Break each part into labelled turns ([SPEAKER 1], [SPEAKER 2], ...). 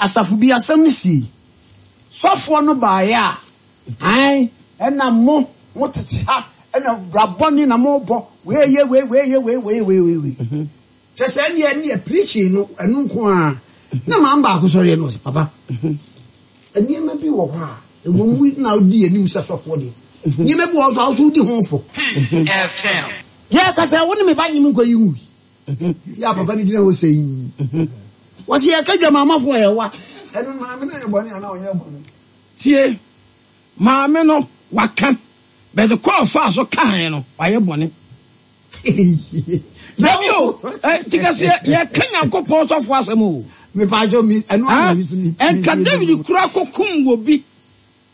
[SPEAKER 1] Asafo bi asɛm no sii. Sɔfoɔ no baeɛ a, ae, ɛna mo, mo tete ha, ɛna bra bɔne na mo bɔ, wei yɛ wei, wei yɛ wei, wei yɛ wei, wei wei. Kyɛ sɛ ɛneɛ, ɛneɛ preaching no, ɛno nko ara. Na maame baako sɔreɛ na ɔse, papa, nneɛma bi wɔ hɔ a, ɛwɔ mu na wodi anim sɛ sɔfoɔ deɛ, nneɛma bi wɔ hɔ nso a, wo nso wodi ho fɔ. Yɛka sɛ wo ne me ba nyem nkɔyi nwui. Yɛ a papa no gyina hɔ sɛ yi. Wɔsi yɛka dwamamafo a yɛwa. Ɛno maame no yɛ bɔne anaa ɔnyɛ bɔne?
[SPEAKER 2] Tie, maame no waka, but kɔ ɔfaa so kaeɛ no wayɛ bɔne. Dabi o, ti kɛseɛ yɛka Nyankopɔn sɔfo asɛm o.
[SPEAKER 1] Mepaakyɛw mi ɛno ana mi so mi.
[SPEAKER 2] Ɛnka David kura kɔkum wɔ bi.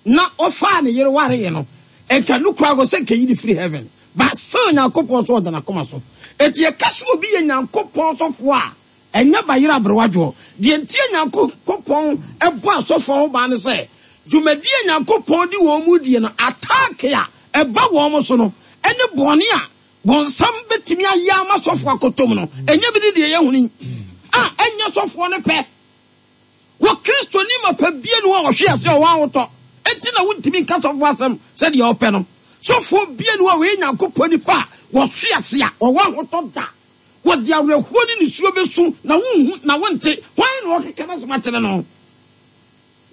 [SPEAKER 2] Na ɔfaa ne yere waree no, nka no koraa sɛ nka yi no firi heaven, but still Nyankopɔn nso ɔda n'akoma so. Enti yɛka sɛ obi yɛ Nyankopɔn sɔfoɔ a, ɛnyɛ bayerɛ aberewa dwoɔ. Deɛ nti a Nyankopɔn bɔ asɔfoɔ ho ban ne sɛ, dwumadie a Nyankopɔn de wɔn redie no, attack a ɛba wɔn so no, ne bɔne a bonsam bɛtumi ayɛ ama sɔfoɔ akɔtɔ mu no, ɛnyɛ bi ne deɛ yɛhunu yi, a ɛnyɛ sɔfoɔ no pɛ. Wɔ Kristoni mapa bia ni hɔ a ɔhwe ase a ɔwɔ ahotɔ enti na wontumi nka sɔfoɔ asɛm sɛdeɛ ɔpɛ no. Sɔfoɔ bia ni hɔ a ɔyɛ Nyankopɔn nipa a wɔhwe ase a ɔwɔ ahotɔ da. Wɔde awerɛhoɔ ne nisuo bɛsu na wonhu na wonte. Hwan na ɔkeka n'asɛm akyerɛ no?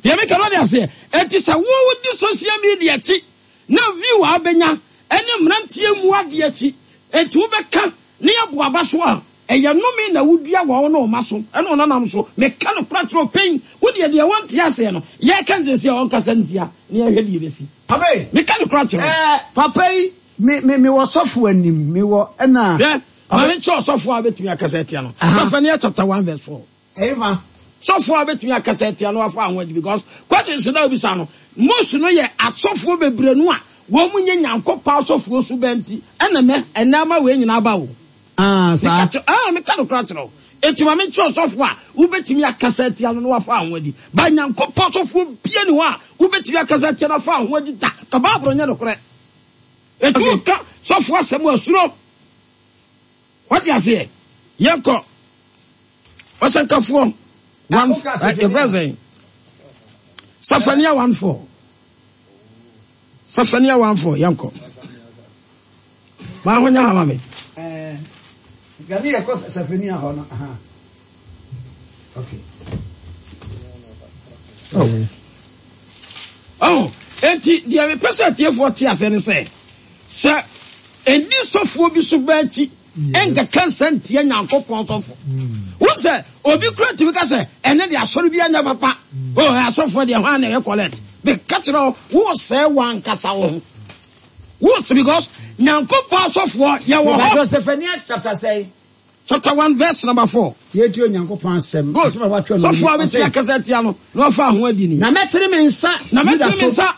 [SPEAKER 2] Deɛ meka no wode aseɛ? Enti sɛ wo wodi social media akyi na view a wobɛnya ne mmeranteɛ mmu adeɛ akyi enti wobɛka ne yɛbo aba so a, ɛyɛ nnome na wodua wɔ wo ne wo mma so ne wo nananom so. Meka nokorɛ kyerɛ wo pɛn, wo deɛ deɛ wonte aseɛ no, yɛreka no seesei a ɔnkasa ntia na yɛnhwɛ deɛ ɛbɛsi.
[SPEAKER 1] Papa yi.
[SPEAKER 2] Meka nokorɛ kyerɛ wo.
[SPEAKER 1] Ɛɛ, papa yi, me, me, mewɔ sɔfo anim, mewɔ, ɛna.
[SPEAKER 2] Hwɛ, ma menkyerɛ ɔsɔfo a wobɛtumi akasa atia no. Sefaniah chapter 1 verse 4.
[SPEAKER 1] Ɛhefa?
[SPEAKER 2] Sɔfoɔ a wobɛtumi akasa atia no wafa ho adi because questions no a wobisa no most no yɛ asɔfoɔ bebree no a wɔn nyɛ Nyankopɔn asɔfoɔ suban nti ɛna mɛ ɛnɛ ama wei nyinaa aba o.
[SPEAKER 1] Ah, saa.
[SPEAKER 2] Meka kyerɛ, ah, meka nokora kyerɛ wo. Enti ma menkyerɛ ɔsɔfoɔ a wobɛtumi akasa atia no na wafa ho adi. Ba Nyankopɔn sɔfoɔ bia ni hɔ a wobɛtumi akasa atia no afa ho adi da. Ka Bible nyɛ nokorɛ. Enti woka sɔfoɔ asɛm a suro. Wate aseɛ? Yɛnkɔ. Ɔsɛnkafoɔ one yɛfrɛ sɛn? Safania 1:4. Safania 1:4 yɛnkɔ. Maa ho nya ha ma me.
[SPEAKER 1] Gani yɛkɔ Safania hɔ no. Okay.
[SPEAKER 2] Oh. Oh, enti deɛ mepɛ sɛ atiefoɔ te aseɛ ne sɛ, sɛ ɛnni sɔfoɔ bi so baa akyi ɛnkɛka nsa ntia Nyankopɔn sɔfo. Wo sɛ obi kura tumi ka sɛ ɛne de asɔre bi anyɛ papa. Oh, asɔfoɔ deɛ hwan na ɛyɛ collect. Meka kyerɛ wo, wo sɛ wankasa wo ho. Wo because Nyankopɔn asɔfoɔ yɛwɔ hɔ.
[SPEAKER 1] Zephaniah chapter sɛn?
[SPEAKER 2] Chapter 1 verse number 4.
[SPEAKER 1] Yɛtie Onyankopɔn asɛm.
[SPEAKER 2] Good.
[SPEAKER 1] Asɛm a wɔatwerɛ no
[SPEAKER 2] Sɔfoɔ a
[SPEAKER 1] ɔse,
[SPEAKER 2] bɛtumi akasa atia no na wafa ho adi ni.
[SPEAKER 1] Na mɛtene me nsa
[SPEAKER 2] Na
[SPEAKER 1] Yuda
[SPEAKER 2] mɛtene me
[SPEAKER 1] so
[SPEAKER 2] nsa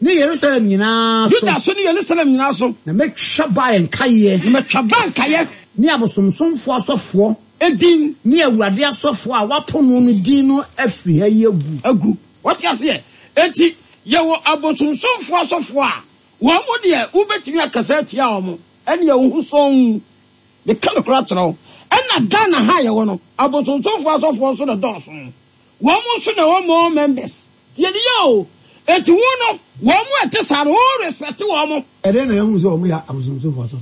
[SPEAKER 1] ne Yerusalem nyinaa so.
[SPEAKER 2] Yuda so ne Yerusalem nyinaa so.
[SPEAKER 1] Na mɛtwa Baal nkaeɛ.
[SPEAKER 2] Na mɛtwa Baal nkaeɛ.
[SPEAKER 1] Ne abosomsomfoɔ asɔfoɔ.
[SPEAKER 2] Edin.
[SPEAKER 1] Ne Awurade asɔfoɔ a wɔapo no no din no afiri ha yi agu.
[SPEAKER 2] Agu. Wɔte aseɛ? Enti yɛwɔ abosomsomfoɔ asɔfoɔ a wɔn deɛ wobɛtumi akasa atia wɔn, ɛnneɛ wo ho sɔnn. Meka nokorɛ akyerɛ wo. Ɛna Ghana ha a yɛwɔ no, abosonsomfoɔ asɔfoɔ nso na ɛdɔɔso. Wɔn nso na ɛwɔ more members. Tie no yie o. Enti wo no, wɔn a ɛte saa no, wo respect wɔn.
[SPEAKER 1] Ɛdɛn na yɛahu sɛ wɔyɛ abosonsomfoɔ asɔfoɔ?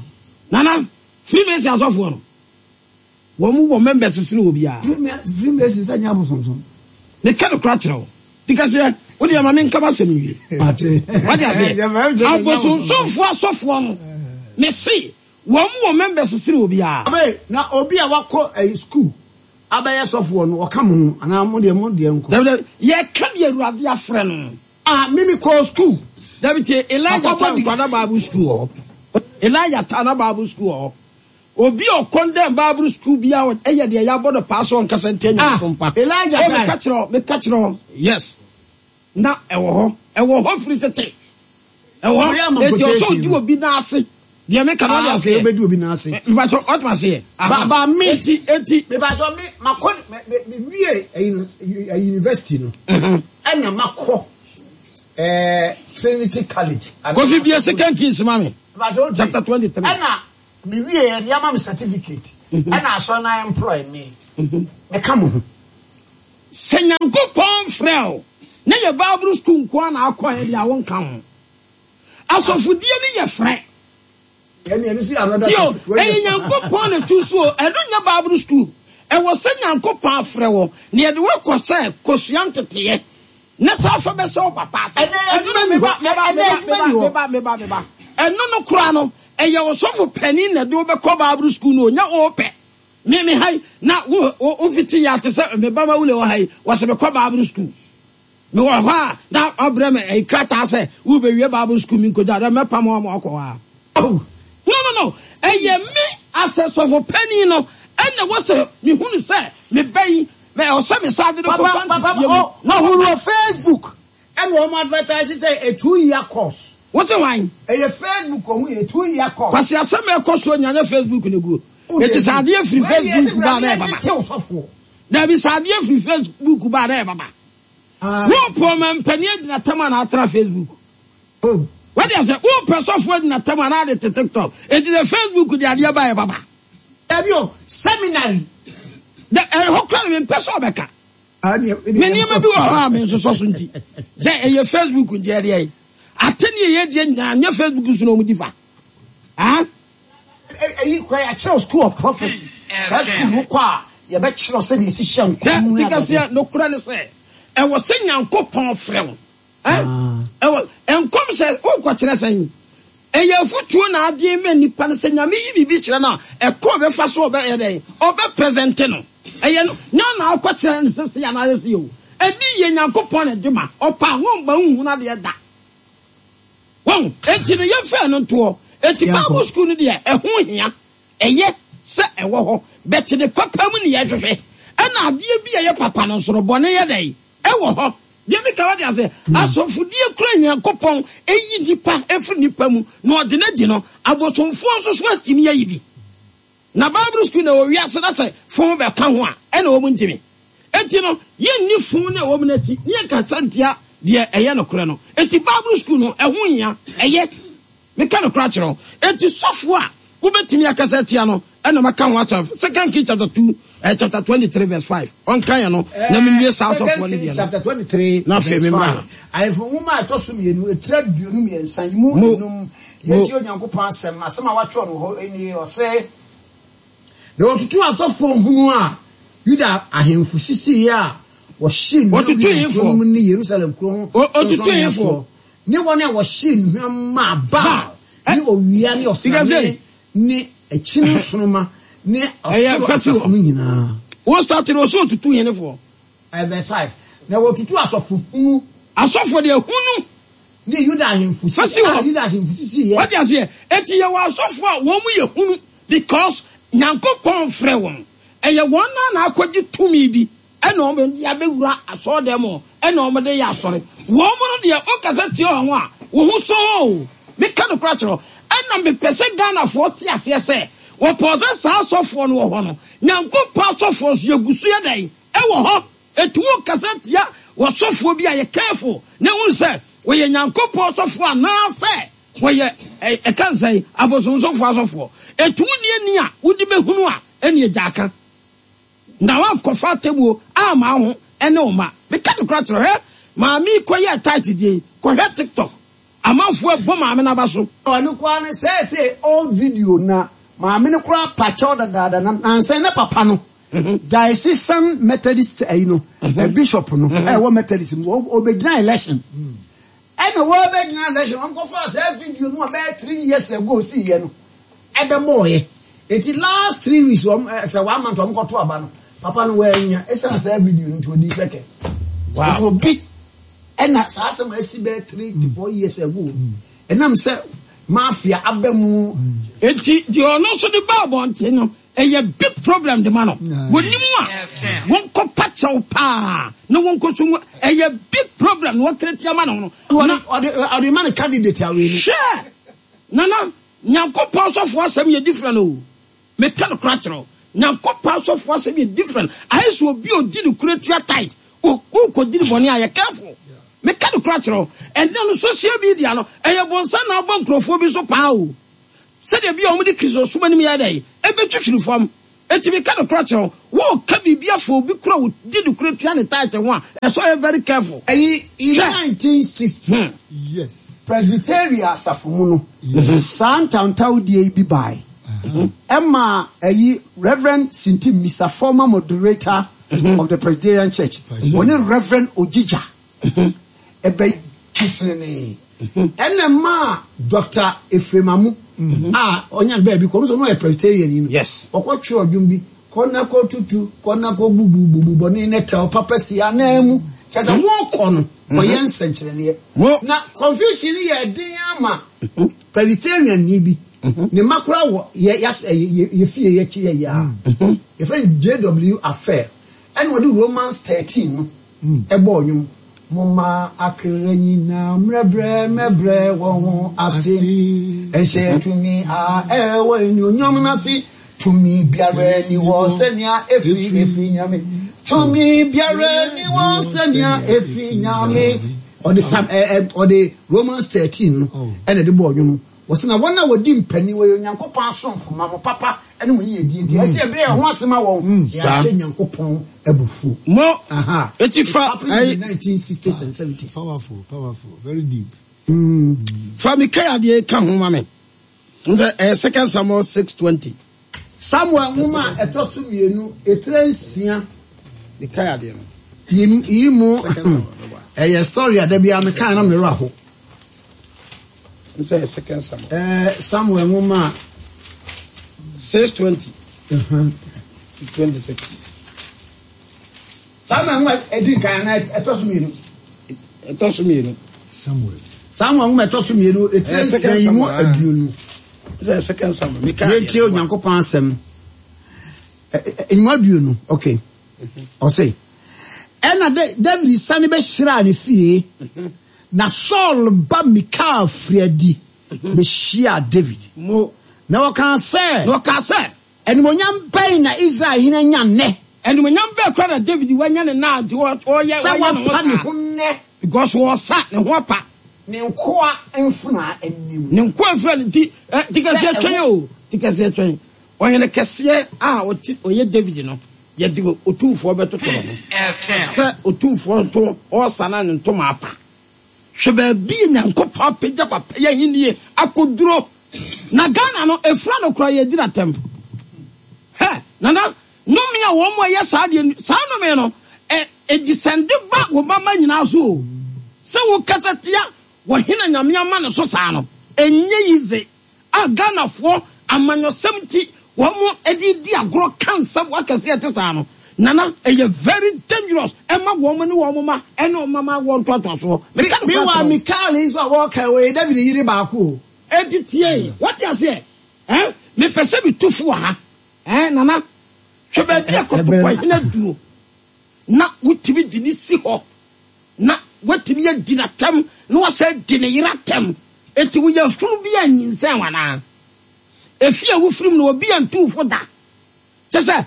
[SPEAKER 2] Nana, Freemason asɔfoɔ no, wɔn wɔ members sene obiara.
[SPEAKER 1] Freemason sɛ nyɛ abosonsom.
[SPEAKER 2] Meka nokorɛ akyerɛ wo. Ti kaseɛ, wo deɛ ma menka m'asɛm nwie.
[SPEAKER 1] Mate.
[SPEAKER 2] Wate aseɛ? Abosonsomfoɔ asɔfoɔ no, mese, Wɔn wɔ members sene obiara.
[SPEAKER 1] Abe, na obi a wakɔ ɛyi school abɛyɛ sɔfoɔ no ɔka mo ho anaa mo deɛ mo deɛ nko?
[SPEAKER 2] Dabi dabi, yɛka deɛ Awurade afrɛ no.
[SPEAKER 1] Ah, me me kɔɔ school.
[SPEAKER 2] Dabi tie, Elijah
[SPEAKER 1] Makɔbɔ
[SPEAKER 2] taa
[SPEAKER 1] di.
[SPEAKER 2] nkwa na Bible school wɔ hɔ. Elijah taa na Bible school wɔ hɔ. Obi a ɔkɔndɛm Bible school biara ɛyɛ deɛ yɛabɔ no paa sɛ ɔnkasa ntia
[SPEAKER 1] Ah,
[SPEAKER 2] nyamesom pa.
[SPEAKER 1] Elijah
[SPEAKER 2] Oh,
[SPEAKER 1] tae.
[SPEAKER 2] meka kyerɛ wo, meka kyerɛ wo, yes. Na ɛwɔ hɔ, ɛwɔ hɔ firi tete. Ɛwɔ
[SPEAKER 1] Ɔyɛ ama
[SPEAKER 2] hɔ, enti ɔsɛ
[SPEAKER 1] quotation
[SPEAKER 2] ɔdi
[SPEAKER 1] no.
[SPEAKER 2] obi nan ase. Deɛ meka no
[SPEAKER 1] Ah,
[SPEAKER 2] wate
[SPEAKER 1] okay,
[SPEAKER 2] aseɛ?
[SPEAKER 1] obedi obi nan ase.
[SPEAKER 2] Mpatsɔ wate aseɛ?
[SPEAKER 1] Ba ba me.
[SPEAKER 2] Eti eti.
[SPEAKER 1] Mepatsɔ me makɔ me me me wie ɛyi no ɛyi university no. Ɛna makɔ ɛɛ Trinity College.
[SPEAKER 2] Kofi bie Second Kings ma me.
[SPEAKER 1] Mepatsɔ o tie.
[SPEAKER 2] Chapter 23.
[SPEAKER 1] Ɛna me wie yɛ de ama me certificate. Ɛna asɔre na employ me. Meka mo ho.
[SPEAKER 2] Sɛ Nyankopɔn frɛ wo na yɛ Bible school nko ara na akɔɛ deɛ a wonka ho. Asɔfodie no yɛ frɛ. Tio, ɛyɛ Nyankopɔn na tu so o, ɛno nyɛ Bible school. Ɛwɔ sɛ Nyankopɔn afrɛ wɔ, na yɛde wo akɔ sɛ kosua nteteɛ, na saa fa bɛsɛ wo papa ase. Ɛno no, meba, meba, meba, meba, meba, meba. Ɛno no koraa no, ɛyɛ ɔsɔfo panin na ɛde wo bɛkɔ Bible school no o, nyɛ wo pɛ. Me, me ha yi, na wo, wo, wo fiti yɛ ate sɛ me ba ma wule wɔ ha yi, wɔsɛ mekɔ Bible school. Mewɔ hɔ a, na ɔbrɛ me ɛyi krataa sɛ wobewie Bible sukuu mi nkogya dɛ mɛpam wɔn ama wɔakɔ hɔ a. Oh! No, no, no! Ɛyɛ me as a sɔfo panin no ɛna ɛwɔ sɛ mehunu sɛ me ba yi, ɛwɔ sɛ me san de no kɔfa
[SPEAKER 1] Papa,
[SPEAKER 2] nteteɛ mu.
[SPEAKER 1] oh, mahunu wɔ Facebook ɛna wɔn advertise sɛ a 2 year course.
[SPEAKER 2] Wo se hwan?
[SPEAKER 1] Ɛyɛ Facebook ɔho yɛ 2 year course.
[SPEAKER 2] Kwasi asɛm a ɛkɔ soɔ nyinaa nyɛ Facebook na ɛguo. Eti sɛ adeɛ firi Facebook ba a na ɛyɛ papa. Dabi sɛ adeɛ firi Facebook ba a na ɛyɛ papa. Wopɛ ɔmampanin agyina tam a na atra Facebook. Wode asɛ wopɛ sɔfo agyina tam a na ade te TikTok. Enti sɛ Facebook de adeɛ ba yɛ papa.
[SPEAKER 1] Dabi o, seminary.
[SPEAKER 2] Da ɛhɔ kora no mempɛ sɛ ɔbɛka. Me nneɛma bi wɔ hɔ a mensosɔ so nti. Sɛ ɛyɛ Facebook nti ɛdeɛ yi. Atɛni ɛyɛ deɛ nyinaa nyɛ Facebook so na wɔn di fa. Ah?
[SPEAKER 1] Eyi kora yɛakyerɛw School of Prophecy. Saa sukuu no kɔ a, yɛbɛkyerɛw sɛnea esi hyɛ nkɔm
[SPEAKER 2] ne adeade. Ti nokorɛ ne sɛ, ɛwɔ sɛ Nyankopɔn frɛ wo. Ɛwɔ nkɔm sɛ wokɔkyerɛ sɛn? Ɛyɛ afutuo na adeɛ ma nipa no sɛ Nyame yi biribi kyerɛ no a, ɛkɔ ɔbɛfa so ɔbɛyɛ dɛn? Ɔbɛ presente no. Ɛyɛ no, nyɛ na akɔkyerɛ no sɛ sei anaasɛ sei o. Ɛdi yɛ Nyankopɔn na ɛde ma. Ɔpɛ a, wɔmma nhunu adeɛ da. Wahu? Enti no, yɛmfa ɛno ntoɔ. Enti Bible sukuu no deɛ, ɛho hia. Ɛyɛ sɛ ɛwɔ hɔ. But ne papa mu ne yɛhwehwɛ. Ɛna adeɛ bi a ɛyɛ papa no nso no, bɔne yɛ dɛn? Ɛwɔ hɔ. Deɛ meka wate aseɛ? Asɔfodie kura Nyankopɔn ɛyi nipa ɛfiri nipa mu na ɔde no adi no, abosomfoɔ nso so atumi ayi bi. Na Bible sukuu na ɛwɔ wiase na sɛ fon bɛka ho a, ɛna wɔn ntumi. Enti no, yɛnni fon no a ɛwɔ mu no akyi na yɛnkasa ntia deɛ ɛyɛ nokorɛ no. Enti Bible sukuu no, ɛho hia. Ɛyɛ. Meka nokorɛ akyerɛ wo. Enti sɔfoɔ a wobɛtumi akasa atia no, ɛna maka ho asɛm. Second Kings chapter 2, eh, chapter 23 verse 5. Ɔnka yɛ no, na menwie saa
[SPEAKER 1] Second
[SPEAKER 2] sɔfoɔ no
[SPEAKER 1] Kings
[SPEAKER 2] deɛ no.
[SPEAKER 1] chapter 23
[SPEAKER 2] Na afei
[SPEAKER 1] verse
[SPEAKER 2] memmra
[SPEAKER 1] 5.
[SPEAKER 2] ha.
[SPEAKER 1] Ahemfo nwoma a ɛtɔ so mmienu, etire 23 yi mu
[SPEAKER 2] Mo,
[SPEAKER 1] enum.
[SPEAKER 2] mo.
[SPEAKER 1] Yɛntie Onyankopɔn asɛm. Asɛm a wɔatwerɛ no wɔ hɔ nie, ɔse, Na wɔtutuu asɔfoɔ hunu a Yuda ahemfo sisiiɛ a wɔhyee nnuhwam
[SPEAKER 2] Wɔtutuu
[SPEAKER 1] Yuda nkuro no
[SPEAKER 2] hefoɔ?
[SPEAKER 1] mu ne Yerusalem kuro ho
[SPEAKER 2] O, otutuu
[SPEAKER 1] sorɔnsorɔmmea
[SPEAKER 2] hefoɔ?
[SPEAKER 1] soɔ, ne wɔn a wɔhyee nnuhwam maa Baal
[SPEAKER 2] Baal. Ɛ,
[SPEAKER 1] ne owia ne
[SPEAKER 2] sika
[SPEAKER 1] ɔsrane
[SPEAKER 2] sei.
[SPEAKER 1] ne akyini nsoromma ne
[SPEAKER 2] Ɛyɛ
[SPEAKER 1] ɔsoro
[SPEAKER 2] fɛsi
[SPEAKER 1] asafo
[SPEAKER 2] hɔ.
[SPEAKER 1] no nyinaa.
[SPEAKER 2] Wo start no, ɔsɛ otutu henefoɔ?
[SPEAKER 1] Verse 5. Na wɔtutuu asɔfo hunu.
[SPEAKER 2] Asɔfoɔ deɛ hunu.
[SPEAKER 1] Ne Yuda ahemfo sisi
[SPEAKER 2] Fɛsi hɔ.
[SPEAKER 1] a Yuda ahemfo sisiiɛ.
[SPEAKER 2] Wate aseɛ? Enti yɛwɔ asɔfoɔ a wɔn mu yɛ hunu because Nyankopɔn mfrɛ wɔn. Ɛyɛ wɔn ara na akɔgye tumi bi ɛna wɔn de abɛwura asɔɔdan mu ɛna wɔn de yɛ asɔre. Wɔn no deɛ wokasa tia wɔn a, wo ho sɔ o. Meka nokorɛ akyerɛ wo. Ɛna mepɛ sɛ Ghanafoɔ te aseɛ sɛ wɔpɔɔ sɛ saa asɔfoɔ no wɔ hɔ no, Nyankopɔn asɔfoɔ nso yɛgu so yɛ dɛn? Ɛwɔ hɔ. Enti wo kasa tia wɔsɔfoɔ bi a yɛ careful na hu sɛ wɔyɛ Nyankopɔn sɔfoɔ anaa sɛ wɔyɛ ɛka nsɛn abosomsomfoɔ asɔfoɔ. Enti wo nni ani a wode bɛhunu a ɛneɛ gyaa ka. Na woankɔfa atemmuo amma wo ho ɛne wo mma. Meka nokorɛ akyerɛ wo hwɛ maame yi kɔyɛɛ tight deɛ yi kɔhwɛ tiktok amanfoɔ ɛbɔ maame no aba so.
[SPEAKER 1] Ɔno koraa no sɛɛsɛɛ old video na maame no koraa pakyɛw dadaada na nansa yi na papa no Diocesan Methodist ayi no bishop no ɛwɔ Methodist mu ɔbɛgyina election ɛna wɔbɛgyina election wɔn kɔfa saa video no ɔbɛyɛ 3 years ago si yɛ no ɛbɛbɔɔyɛ eti last 3 weeks wɔn sɛ one month wɔn kɔto aba no papa no wɔanya esan saa video no nti odi second. Nti obi ɛna saa asɛm a esi bɛyɛ 3 to 4 years ago ɛnam sɛ mafia aba mu.
[SPEAKER 2] Eti deɛ ɔno nso de ba abɔnten no ɛyɛ big problem de ma no. Wɔnim a wɔnkɔ pa kyɛw paa na wɔnkɔ so mu ɛyɛ big problem na wɔkere tia ma no no.
[SPEAKER 1] Ɔde ɔde ɔde ma no candidate awie no.
[SPEAKER 2] Hwɛ nana Nyankopɔn sɔfo asɛm yɛ different o. Meka no kora kyerɛ wo. Nyankopɔn asɔfo asɛm yɛ different. Ayɛ sɛ obi a odi ne kura tua tight. Wokɔdi ne bɔne a yɛ careful. Meka no kora kyerɛ wo. Ɛnnɛ no social media no ɛyɛ bonsam na abɔ nkurɔfoɔ bi so paa o. Sɛdeɛ bi a wɔde Kristosom anim yɛ dɛn ɛbɛtwitwiri fam. Enti meka nokorɛ kyerɛ wo, woreka biribi afa obi koro a ɔdi nokorɛ tua ne tithe ho a, ɛsɛ sɛ ɔyɛ very careful.
[SPEAKER 1] Ɛyi, in
[SPEAKER 2] Hwɛ!
[SPEAKER 1] 1960, Presbyteria asafo mu no, saa ntawntawdie yi bi bae. Ɛmaa ɛyi, Rev. Sintim Misa, former moderator of the Presbyterian Church, ɔne Rev. Ogyigya Ɛbɛ kesenenee. Ɛna ɛmaa Dɔkta Ephraim Amu a ɔnya no baabi kɔ, ɔno nso ɔno ɔyɛ Presbyterian ni no, ɔkɔ twerɛ dwom bi, kɔ na kɔ tutu, kɔ na kɔ bubu, bubu bɔne ne tɛw papa si ananmu. Kyerɛ sɛ wokɔ no, kɔyɛ nsɛnkyerɛnneɛ. Na confusion no yɛɛ den ara ma Presbyterian ni bi, ne mma koraa wɔ yɛ yɛ yɛ fie yɛ akyi yɛ yɛ a, yɛfrɛ no JW Affair, ɛna ɔde Romans 13 no Bɔɔ nnwom. Momma akra nyinaa mmrɛbrɛ mmɛbrɛ wɔn ho ase nhyɛ tumi a ɛwɔ anuonyam no ase. Tumi biara nni hɔ sɛnea efi efi Nyame. Tumi biara nni hɔ sɛnea efi Nyame. Ɔde Psalm ɛ ɛ ɔde Romans 13 no ɛna ɛde bɔɔ nnwom. Wɔsi na wɔn a wɔdi mpanin wɔyɛ Onyankopɔn asomfo ma mo papa ne mo yiyedie nti, ɛsɛ yɛbrɛ yɛn ho ase ma wɔn, na yɛahyɛ Nyankopɔn abufuo.
[SPEAKER 2] Mo,
[SPEAKER 1] Aha.
[SPEAKER 2] eti
[SPEAKER 1] It
[SPEAKER 2] fa
[SPEAKER 1] happened in
[SPEAKER 2] ɛyi.
[SPEAKER 1] the 1960s and 70s.
[SPEAKER 3] Powerful, powerful, very deep.
[SPEAKER 2] Fa Mikaia deɛ ka ho ma me. N sɛ ɛyɛ Second Samuel 6:20.
[SPEAKER 1] Samuel nwoma a ɛtɔ so mienu, etire nsia.
[SPEAKER 2] Mikaia deɛ no.
[SPEAKER 1] Yi, yi mu,
[SPEAKER 2] Second Samuel, bɛboa.
[SPEAKER 1] ɛyɛ story a da biara mekae na me werɛ aho.
[SPEAKER 2] N sɛ Second Samuel.
[SPEAKER 1] Ɛɛ Samuel nwoma a.
[SPEAKER 2] 6:20. 26.
[SPEAKER 1] Samuel nwoma ɛdi nkan anaa ɛtɔ so mmienu.
[SPEAKER 2] Ɛtɔ so mmienu.
[SPEAKER 3] Samuel.
[SPEAKER 1] Samuel nwoma ɛtɔ so mmienu etire nsia yi mu aduonu.
[SPEAKER 2] Sɛ Second Samuel.
[SPEAKER 1] Yɛntie Onyankopɔn asɛm. Nnwuma aduonu. Okay. Ɔse, Ɛnna Dawid sane bɛhyiraa ne fie, na Saul ba Mikal firii adi bɛhyiaa Dawid. Na ɔkaa sɛ.
[SPEAKER 2] Na ɔkaa sɛ.
[SPEAKER 1] Animuonyam bɛn na Israel hene anya nnɛ?
[SPEAKER 2] Animuonyam bɛn koraa na Dawid wanya ne nna a nti ɔreyɛ ne ho saa?
[SPEAKER 1] Sɛ wapa ne ho nnɛ.
[SPEAKER 2] Because ɔresa, ne ho apa.
[SPEAKER 1] Ne nkoa mfenaa anim.
[SPEAKER 2] Ne nkoa mfenaa anim. Nti, ti kɛseɛ twɛn o, ti kɛseɛ twɛn. Ɔhene kɛseɛ a ɔte ɔyɛ David no, yɛde otumfoɔ bɛtoto ne ho sɛ otumfoɔ nto ɔresa na ne ntoma apa. Hwɛ baabi a Nyankopɔn apagya papa yi ahennie akɔduro. Na Ghana no, ɛfira no koraa yɛdi no atɛm. Hɛ! Nana, nnome a wɔn a ɛyɛ saa deɛ, saa nnome no, ɛ, ɛdisɛnde ba wo mma mma nyinaa so o. Sɛ wokasa tia ɔhene a Nyame ama no so saa no, ɛnyɛ yize. A Ghanafoɔ amanyɔsɛm nti wɔn de redi agorɔ ka nsɛm akɛseɛ ɛte saa no Nana ɛyɛ very dangerous ɛma wɔn ne wɔn mma ɛne wɔn mma mma awoɔ ntoatoasoɔ. Meka nokorɛ
[SPEAKER 1] Meanwhile,
[SPEAKER 2] akyerɛ wo.
[SPEAKER 1] Mikal yi nso a wɔreka yi, ɔyɛ David yere baako o.
[SPEAKER 2] Enti tie, woate aseɛ eh? Mepɛ sɛ metu fo wɔ ha eh, Nana. Hwɛ baabi a kɔtɔkɔhene aduro na wotumi de no si hɔ na watumi adi no atɛm na wasan adi ne yere atɛm. Enti wo yafunu bi anyinsɛn wo anaa? Efie a wofiri mu no, obi antu wo fo da. Kyerɛ sɛ,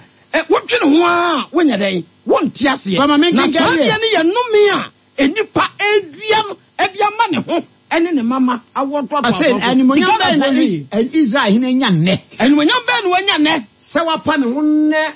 [SPEAKER 2] wodwene ho ara a, wonyɛ dɛn? Wonte aseɛ.
[SPEAKER 1] Fa ma
[SPEAKER 2] Na
[SPEAKER 1] menkenkan
[SPEAKER 2] saa
[SPEAKER 1] deɛ.
[SPEAKER 2] adeɛ no yɛ nnome a nnipa redua no de ama ne ho ne ne mma mma awoɔ
[SPEAKER 1] Ɔse,
[SPEAKER 2] ntoatoasoɔ so. Nti
[SPEAKER 1] Animuonyam bɛn na
[SPEAKER 2] Ghanafoɔ nhwɛ yie.
[SPEAKER 1] Israel hene anya nnɛ?
[SPEAKER 2] Animuonyam bɛn na wanya nnɛ?
[SPEAKER 1] Sɛ wapa ne ho nnɛ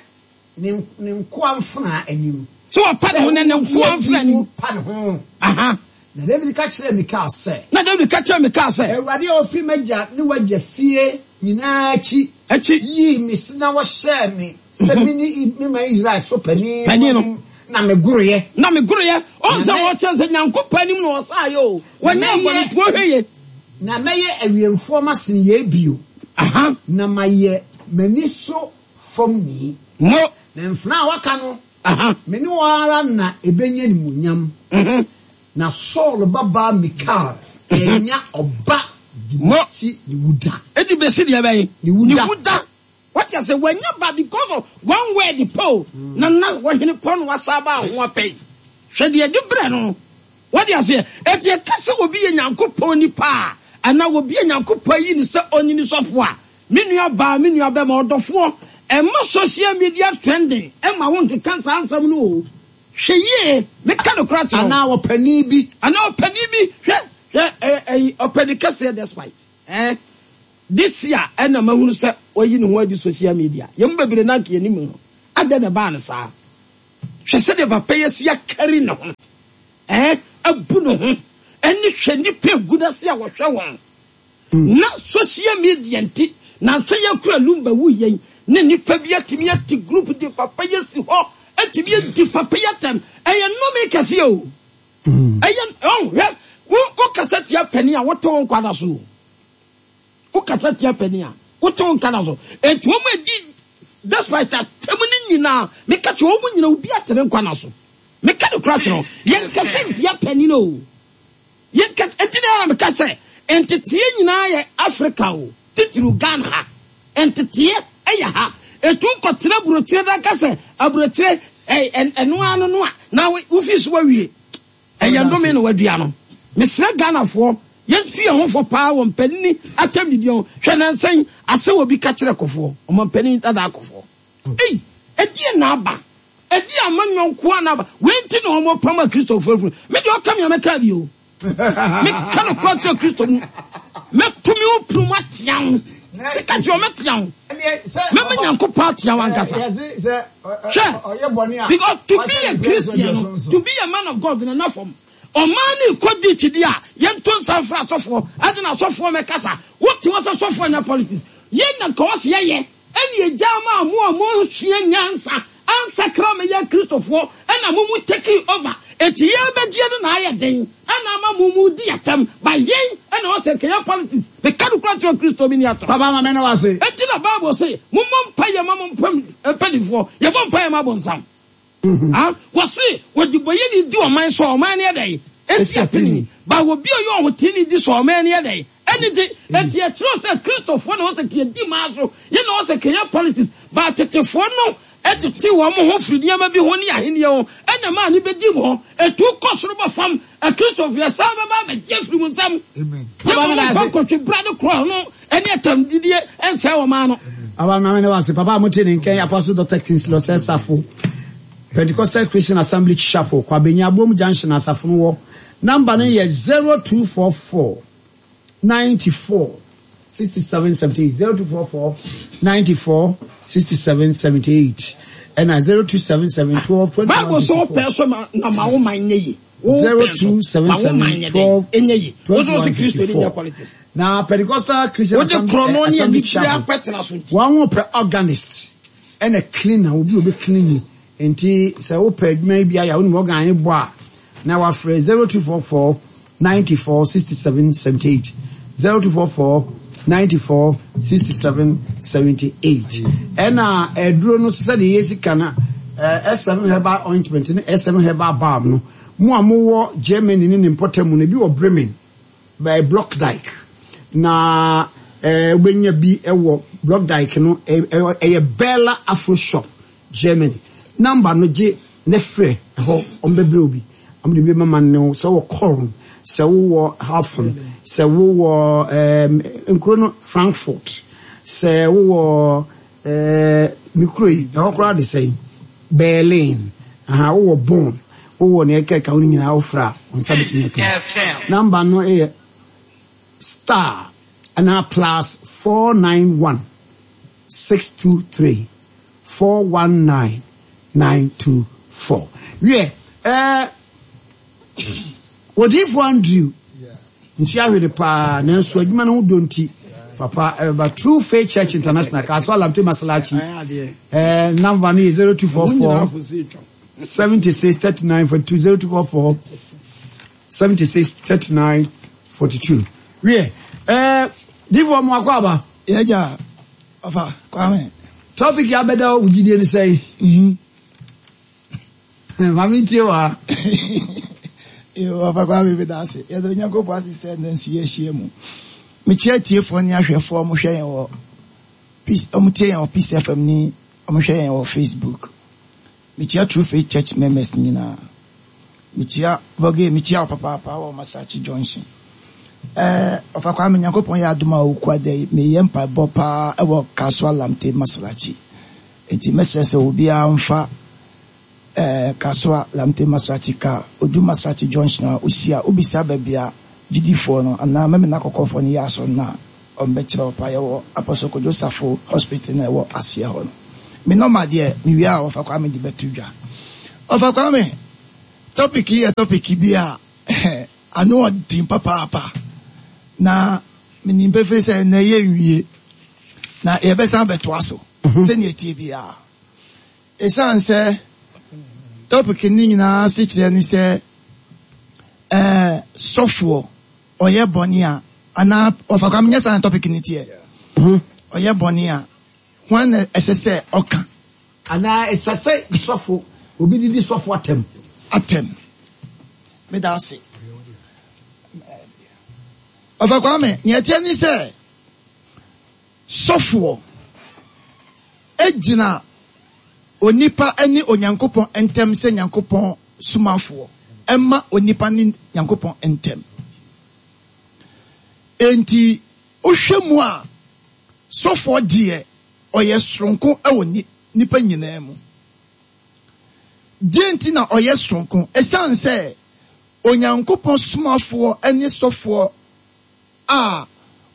[SPEAKER 1] Ne ne nkoa mfenaa anim.
[SPEAKER 2] Sɛ wapa ne ho na ne nkoa mfenaa anim.
[SPEAKER 1] Pa ne ho.
[SPEAKER 2] Aha.
[SPEAKER 1] Na Dawid ka kyerɛɛ Mikal sɛ.
[SPEAKER 2] Na Dawid ka kyerɛɛ Mikal sɛ.
[SPEAKER 1] Awurade a ɔfiri m'agya ne w'agya fie nyinaa akyi.
[SPEAKER 2] Akyi.
[SPEAKER 1] Yii me na ɔhyɛɛ me sɛ menni me man Israel so panin
[SPEAKER 2] no anim,
[SPEAKER 1] na megoroeɛ.
[SPEAKER 2] Na megoroeɛ. Ɔhu sɛ ɔkyerɛ sɛ Nyankopɔn anim na ɔsaeɛ o. Wanyɛ bɔne nti ɔhwɛ yie.
[SPEAKER 1] Na mɛyɛ awiɛmfoɔ masene yei bio.
[SPEAKER 2] Aha.
[SPEAKER 1] Na mayɛ m'ani so fam ni.
[SPEAKER 2] Mo.
[SPEAKER 1] Na mfenaa a wɔaka no, me ne wɔn ara na ebenya animuonyam. Na Saul babaa Mikal annya ɔba de besi ne wuda.
[SPEAKER 2] Edi besi deɛ bɛn?
[SPEAKER 1] Ne wuda.
[SPEAKER 2] Ne wuda. Wate ase? Wanya ba because of one word pɛ o. Na na ɔhene pɔ na wasa aba ho apɛ yi. Hwɛ deɛ ɛde brɛ no. Wate aseɛ? Enti ɛka sɛ obi yɛ Nyankopɔn nipa a, anaa obi a Nyankopɔn ayi no sɛ ɔnyi ne sɔfoɔ a, Me nua baa, me nua bɛma, ɔdɔfoɔ, mma social media trending mma wo nkeka saa nsɛm no o. Hwɛ yie, meka nokorɛ akyerɛ wo.
[SPEAKER 1] Anaa ɔpanin bi.
[SPEAKER 2] Anaa ɔpanin bi, hwɛ, hwɛ, ɛɛ, ɛyi, ɔpanin kɛseɛ despite, ɛɛ. This year ɛna mahunu sɛ wayi ne ho adi social media. Yɛn mu bebree na anka yɛnim no. Adɛn na ɛbaa no saa? Hwɛ sɛdeɛ papa yi asi akari ne ho, eh, abu ne ho, ɛne hwɛ nnipa egu n'ase a wɔhwɛ wɔn. Na social media nti, nansa yi akura Lumba wu yɛn ne nnipa bi atumi ate group de papa yi asi hɔ, atumi adi papa yi atɛm. Ɛyɛ nnome kɛseɛ o. Ɛyɛ, ɔn, hwɛ, wo, wokasa tia panin a, wote wo nkwa da so o. Wokasa tia panin a, wote wo nka da so. Enti wɔn a edi despite atɛm no nyinaa, meka kyerɛ wɔn nyinaa, obi ate ne nkwa na so. Meka no kora kyerɛ wo. Yɛnkasa ntia panin o. Yɛnka, enti na na meka sɛ, nteteɛ nyinaa yɛ Africa o, titiriw Ghana ha. Nteteɛ yɛ ha. Etu kɔtena aburokyire na ka sɛ aburokyire ɛno ara no no a, na wofi so awie. Ɛyɛ nnome na wadua no. Mesrɛ Ghanafoɔ yɛntu yɛn ho fo paa wɔ mpanini atɛmdidie ho. Hwɛ nansa yi asɛm obi ka kyerɛ Kofoɔ, ɔmanpanin dadaa Kofoɔ. Ei! Ɛdeɛn na aba? Ɛdeɛn amanyɔ nkoaa na aba? Wei nti na wɔn apam akristofoɔ afiri. Me deɛ ɔka me a mɛka bi o. Meka nokorɛ kyerɛ Kristo mu. Mɛto me wo punu mu atea wo. Meka kyerɛ wo mɛtea wo. Mɛma Nyankopɔn atea wo ankasa. Hwɛ, because to be a Christian no, to be a man of God no na fam. Ɔman no rekɔ ditch di a, yɛnto nsa mfrɛ asɔfoɔ, ɛde na asɔfoɔ mɛkasa. Wote hɔ sɛ sɔfoɔ nyɛ politics. Yɛn na nka ɔse yɛyɛ. Ɛne agya maa mo a monsua nyansa ansakra mɛyɛ Kristofoɔ ɛna mo mu taking over enti yɛn bɛgyeɛ no na ayɛ den ɛna ama mo mu di atɛm but yɛn ɛna ɔsɛ nka yɛ politics meka no kora kyerɛ Kristo me ni atɔ.
[SPEAKER 1] Papa ma me ne wo ase.
[SPEAKER 2] Enti na bible se mommɔ mpaeɛ ma mo mpanifoɔ yɛbɔ mpaeɛ ma abonsam. Ah, wɔse ɔdebɔyɛni di ɔman so a, ɔman no yɛ dɛn? Esi apini. Ba obi a ɔyɛ ɔhoteeni di so a, ɔman no yɛ dɛn? Ɛni gye. Enti ɛkyerɛ sɛ Kristofoɔ na wɔsɛ kɛ yɛdi man so, yɛn na wɔsɛ kɛ yɛ politics. Ba tetefoɔ no tete wɔn ho firi nneɛma bi ho ne ahennie ho, ɛna ɛmaa no bɛdi mu hɔ. Ɛtu kɔ soro ba fam. Akristofoɔ, yɛsan bɛba abɛgye afiri mo nsam.
[SPEAKER 1] Papa
[SPEAKER 2] Yɛma
[SPEAKER 1] meda
[SPEAKER 2] mo mfa
[SPEAKER 1] ase.
[SPEAKER 2] nkotwe bra ne korɔ no ne atamdidie nsɛe ɔman no.
[SPEAKER 1] Papa ma meda wo ase. Papa a mote ne nka yi Apostle Doctor Kingsley Osei Safo, Pentecostal Christian Assembly Chapel, Kwabenya Aboom Junction asafo no wɔ. Number no yɛ 0244 94 67 78, 0244 94 67 78, ɛna 0277 12 21
[SPEAKER 2] Bible sɛ
[SPEAKER 1] 54.
[SPEAKER 2] wopɛ so ma na ma wo man nyɛ yie. Wo pɛ so ma wo man
[SPEAKER 1] 0277
[SPEAKER 2] nyɛ dɛn?
[SPEAKER 1] 12
[SPEAKER 2] Ɛnyɛ yie. Wo nso wo
[SPEAKER 1] 21
[SPEAKER 2] se Kristo ni nyɛ
[SPEAKER 1] 54.
[SPEAKER 2] politics.
[SPEAKER 1] Na Pentecostal Christian
[SPEAKER 2] Wode
[SPEAKER 1] Assembly,
[SPEAKER 2] korɔno
[SPEAKER 1] eh,
[SPEAKER 2] ne
[SPEAKER 1] Assembly
[SPEAKER 2] anibere
[SPEAKER 1] Chapel,
[SPEAKER 2] akɔtena so nti.
[SPEAKER 1] wɔn ho pɛ organist ɛna cleaner, obi a obi clean nti sɛ wopɛ adwuma yi bi ayɛ a wonim organ ne bɔ a na wafrɛ 0244 94 67 78 0244 94 67 78 ɛna aduro no sɛdeɛ yɛsi ka no eh, S7 herbal ointment ne S7 herbal balm no mo a mowɔ Germany ne ne mpɔtam no ebi wɔ Bremen By Blockdike na wobɛnya bi wɔ Blockdike no ɛyɛ Bella Afro Shop Germany number no gye ne frɛ ɛhɔ wɔn bɛbrɛ wo bi wɔn de bi bɛma ne wo sɛ wɔ Köln sɛ wowɔ Hafen sɛ wowɔ ɛɛm nkuro no Frankfurt sɛ wowɔ Ɛɛ me kuro yi, ɛhɔ koraa de sɛn? Berlin. Aha, wowɔ Bonn, wowɔ nea ɛkeka ho no nyinaa wofrɛ a, wo nsa bɛtumi aka bi. Number no yɛ star anaa plus 491 623 419 924. Wiɛ, ɛɛ Odiyifoɔ Andrew nso ahwere paa nanso adwuma no ho dɔ nti papa ɛbɛba True Faith Church International Kasoa Lamte Masalachi ɛɛ number no yɛ 0244 76 39 42 0244 76 39 42 wiɛ ɛɛ difoɔ mo akɔ aba.
[SPEAKER 3] Yɛgya papa Kwame.
[SPEAKER 1] Topic yɛ abɛda wo gyidie no sɛn.
[SPEAKER 3] Mm-hmm.
[SPEAKER 1] Ma mentie wɔ ha.
[SPEAKER 3] Yo, Papa Kwame meda ase. Yɛda Onyankopɔn ase sɛ ɛnnɛ nso yɛahyia mu. Mekyia atiefoɔ ne ahwɛfoɔ a wɔhwɛ yɛn wɔ Peace, wɔtie yɛn wɔ Peace FM ne wɔhwɛ yɛn wɔ Facebook. Mekyia True Faith Church members nyinaa. Mekyia Voge, mekyia wo papaapa wɔ Masakyi Junction. Ɛɛ, Papa Kwame, Nyankopɔn yɛ adom a okua da yi, meyɛ mpaebɔ paa ɛwɔ Kasoa Lamte Masalachi. Enti mɛsrɛ sɛ obiara mfa eh, Kasoa, Lamte Masrachi car, odu Masrachi junction a, osi a, obisa baabi a gyidifoɔ no anaa Memena Kɔkɔɔfoɔ no yɛ asɔre no a, Wɔbɛkyerɛ wo paa. Yɛwɔ Apostle Kojo Safo Hospital no a ɛwɔ aseɛ hɔ no. Me nɔma deɛ, mewie a Wɔfa Kwame de bɛto dwa. Wɔfa Kwame, topic yi yɛ topic bi a ano ɔden papaapa. Na menim pefee sɛ ɛnnɛ yɛnwie. Na yɛbɛsan abɛtoa so sɛnea ɛteɛ biara. Esiane sɛ topic no nyinaa asekyerɛ ne sɛ ɛɛ sɔfoɔ ɔyɛ bɔne a anaa ɔfa kwa menyɛ saa na topic no teɛ. Ɔyɛ bɔne a hwan na ɛsɛ sɛ ɔka?
[SPEAKER 1] Anaa ɛsɛ sɛ sɔfo obi didi sɔfo atɛm?
[SPEAKER 3] Atɛm. Meda ase. Ɔfa Kwame, nea ɛteɛ ne sɛ sɔfoɔ gyina onipa ne Onyankopɔn ntam sɛ Nyankopɔn somafoɔ ma onipa ne Nyankopɔn ntam. Enti wohwɛ mu a, sɔfoɔ deɛ ɔyɛ soronko wɔ nnipa nyinaa mu. Deɛ nti na ɔyɛ soronko? Ɛsiane sɛ Onyankopɔn somafoɔ ne sɔfoɔ a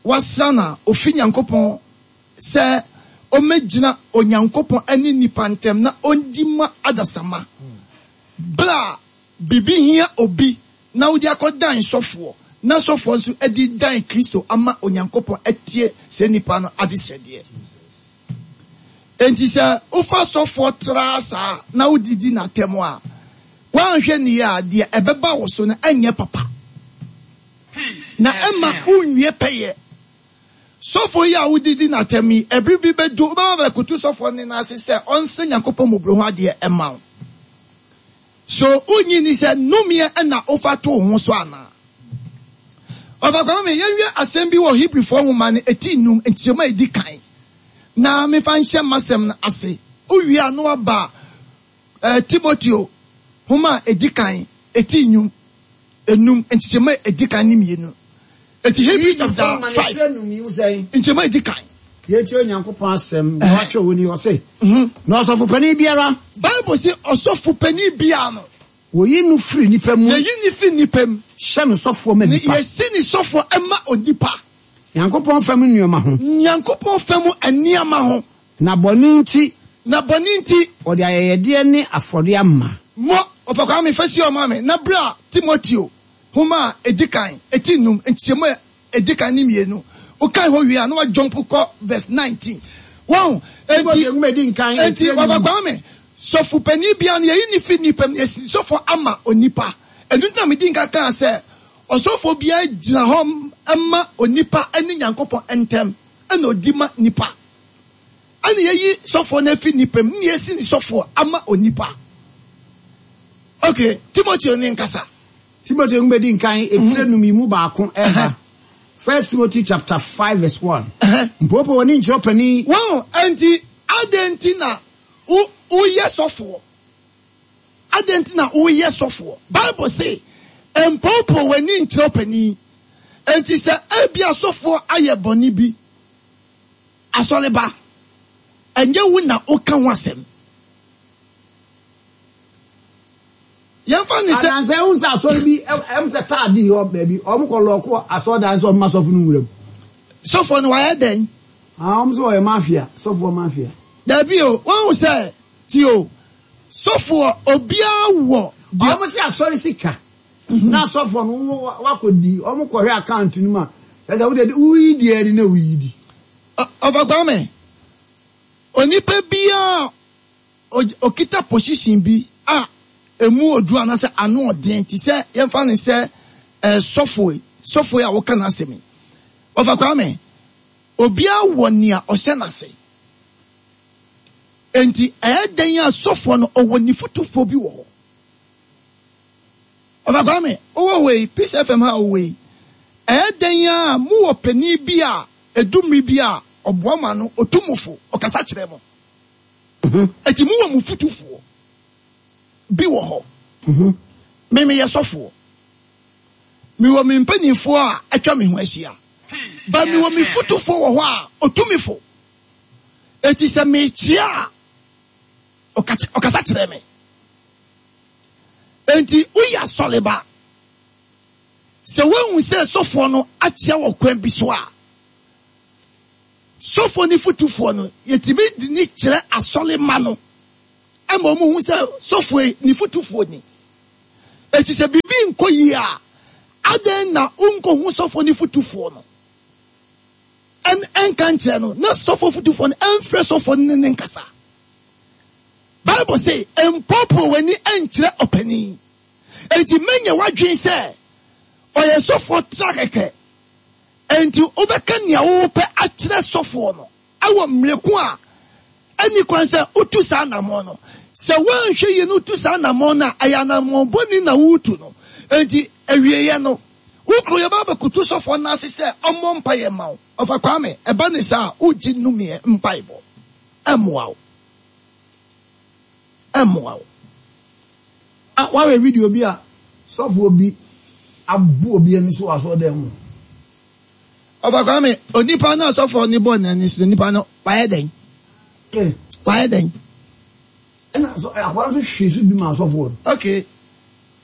[SPEAKER 3] wɔasra no a ofi Nyankopɔn sɛ ommegyina Onyankopɔn ne nnipa ntam na ondi mma adasamma. Bere a biribi hia obi na wode akɔdan sɔfoɔ, na sɔfoɔ nso de dan Kristo ama Onyankopɔn atie saa nipa no adesrɛdeɛ. Enti sɛ wofa sɔfoɔ tra saa na wode di no atɛm a, woanhwɛ no yie a, deɛ ɛbɛba wo so no ɛnyɛ papa. Na ɛmma wonwie pɛyɛ. Sɔfo yi a wode di no atɛm yi, ɛbere bi bɛdu, wobɛba abɛkoto sɔfoɔ no nan ase sɛ ɔnsrɛ Nyankopɔn mmɔborɔhunu adeɛ mma wo. So wonnye nni sɛ nnomeɛ na wofa to wo ho so anaa? Ɔfa Kwame, yɛnhwɛ asɛm bi wɔ Hebrifoɔ nwoma no eti nnum, nkyerɛmu a ɛdi kan, na memfa nhyɛ m'asɛm no ase. Wowie a na woaba Timoteo nhoma a edi kan, eti nnum, enum, nkyekyɛmu a edi kan ne mmienu. Eti Hebrew chapter 5, nkyekyɛmu a edi kan.
[SPEAKER 1] Yɛtie Onyankopɔn asɛm na watwerɛ wɔ ni, ɔse, Na ɔsɔfo panin biara.
[SPEAKER 3] Bible se ɔsɔfo panin biara no.
[SPEAKER 1] Wɔyi no firi nnipa mu.
[SPEAKER 3] Yɛyi no firi nnipa mu.
[SPEAKER 1] Hyɛ no sɔfoɔ ma nnipa.
[SPEAKER 3] Yɛsi no sɔfoɔ ma onipa.
[SPEAKER 1] Nyankopɔn fam nneɛma ho.
[SPEAKER 3] Nyankopɔn fam nneɛma ho.
[SPEAKER 1] Na bɔne nti.
[SPEAKER 3] Na bɔne nti.
[SPEAKER 1] Ɔde ayɛyɛdeɛ ne afɔdeɛ ama.
[SPEAKER 3] Mo, Ɔfa Kwame, fa si hɔ ma me, na bra Timoteo nhoma a edi kan, eti nnum, nkyekyɛmu a edi kan ne mmienu. Wokan hɔ wie a, na woajɔmpo kɔ verse 19. Wahu? Enti,
[SPEAKER 1] Timoteo nwoma a edi nkan,
[SPEAKER 3] enti,
[SPEAKER 1] etire
[SPEAKER 3] Ɔfa
[SPEAKER 1] nnum.
[SPEAKER 3] Kwame, sɔfo panin biara no, yɛyi no fi nnipa mu, na yɛsi no sɔfo ama onipa. Ɛno nti na medi nkan kaa sɛ, ɔsɔfo biara gyina hɔ ma onipa ne Nyankopɔn ntam, ɛna odi ma nnipa. Ɛna yɛyi sɔfoɔ no afi nnipa mu, na yɛsi ne sɔfoɔ ama onipa. Ok, Timoteo ne nkasa.
[SPEAKER 1] Timoteo nwoma edi nkan, etire num yi mu baako ɛba. First Timothy chapter 5 verse 1. Mpoopoo w'ani nkyerɛ ɔpanin.
[SPEAKER 3] Wɔn, ɛnti, adɛn nti na wo, woyɛ sɔfoɔ? Adɛn nti na woyɛ sɔfoɔ? Bible se, Mpoopoo w'ani nkyerɛ ɔpanin. Enti sɛ ebia sɔfoɔ ayɛ bɔne bi, Asɔreba, ɛnyɛ wo na woka ho asɛm. Yɛmfa no sɛ.
[SPEAKER 1] Anansɛ wohu sɛ asɔre bi, ɛm sɛ taa di hɔ baabi, wɔn kɔ lɔɔko asɔredan sɛ wɔn ma sɔfo no nwura mu.
[SPEAKER 3] Sɔfoɔ no wayɛ dɛn?
[SPEAKER 1] Ah, wɔn sɛ ɔyɛ mafia, sɔfoɔ mafia.
[SPEAKER 3] Dabi o, woahu sɛ, tie o, sɔfoɔ, obiara wɔ deɛ.
[SPEAKER 1] Wɔn sɛ asɔre sika. Na asɔfoɔ no wo wakɔ di wɔn kɔ hwɛ account no mu a kyerɛ sɛ wode woyi di adi na woyi di.
[SPEAKER 3] Ɔfa Kwame, onipa biara a ɔkita position bi a ɛmu ɔduru anaasɛ ano ɔden te sɛ yɛmfa no sɛ sɔfoɔ yi, sɔfoɔ yi a woka n'asɛm yi. Ɔfa Kwame, obiara wɔ nea ɔhyɛ n'ase. Enti ɛyɛ dɛn a sɔfoɔ no ɔwɔ ne fotufoɔ bi wɔ hɔ. Ɔfa Kwame, wowɔ hɔ yi, Peace FM ha a wowɔ yi, ɛyɛ dɛn ara a mowɔ panin bi a ɛdu mmere bi a ɔboa mo ano, ɔtu mo fo, ɔkasa kyerɛ mo. Enti mowɔ mo fotufoɔ bi wɔ hɔ. Me meyɛ sɔfoɔ. Mewɔ me mpanimfoɔ a atwa me ho ahyia. But mewɔ me fotufoɔ wɔ hɔ a ɔtu me fo. Enti sɛ mekyea a, ɔkasa kyerɛ me. Enti woyɛ asɔreba. Sɛ woahu sɛ sɔfoɔ no akyea wɔ kwan bi so a, Sɔfoɔ ne fotufoɔ no, yɛtumi de ne kyerɛ asɔre ma no ma wɔn hu sɛ sɔfoɔ yi ne fotufoɔ ni. Eti sɛ biribi nkɔ yie a, adɛn na wonkɔhu sɔfoɔ ne fotufoɔ no ɛnka nkyerɛ no na sɔfoɔ fotufoɔ no ɛmfrɛ sɔfoɔ no ne ne nkasa. Bible se, mpoopoo w'ani nkyerɛ ɔpanin. Enti mɛnyɛ w'adwene sɛ ɔyɛ sɔfoɔ tra kɛkɛ. Enti wobɛka nea wopɛ akyerɛ sɔfoɔ no wɔ mmere ko a ɛnni kwan sɛ wotu saa anammɔn no. Sɛ woanhwɛ yie na wotu saa anammɔn no a, ɛyɛ anammɔn bɔne na woretu no. Enti awieeɛ no, wo kunu yɛbɛba abɛkoto sɔfoɔ no ase sɛ ɔmmɔ mpaeɛ mma wo. Ɔfa Kwame, ɛba ne saa a, wogye nnumeɛ mpaebɔ. Ɛmmoa wo. Ɛmmoa wo.
[SPEAKER 1] A Woahwɛ video bi a sɔfoɔ bi abu obi ani so wɔ asɔredan mu?
[SPEAKER 3] Ɔfa Kwame, onipa no a sɔfoɔ no bɔɔ n'ani so no, nipa no, wayɛ dɛn?
[SPEAKER 1] Eh.
[SPEAKER 3] Wayɛ dɛn?
[SPEAKER 1] Ɛna so akoa no nso hwee so bi ma asɔfoɔ no.
[SPEAKER 3] Okay.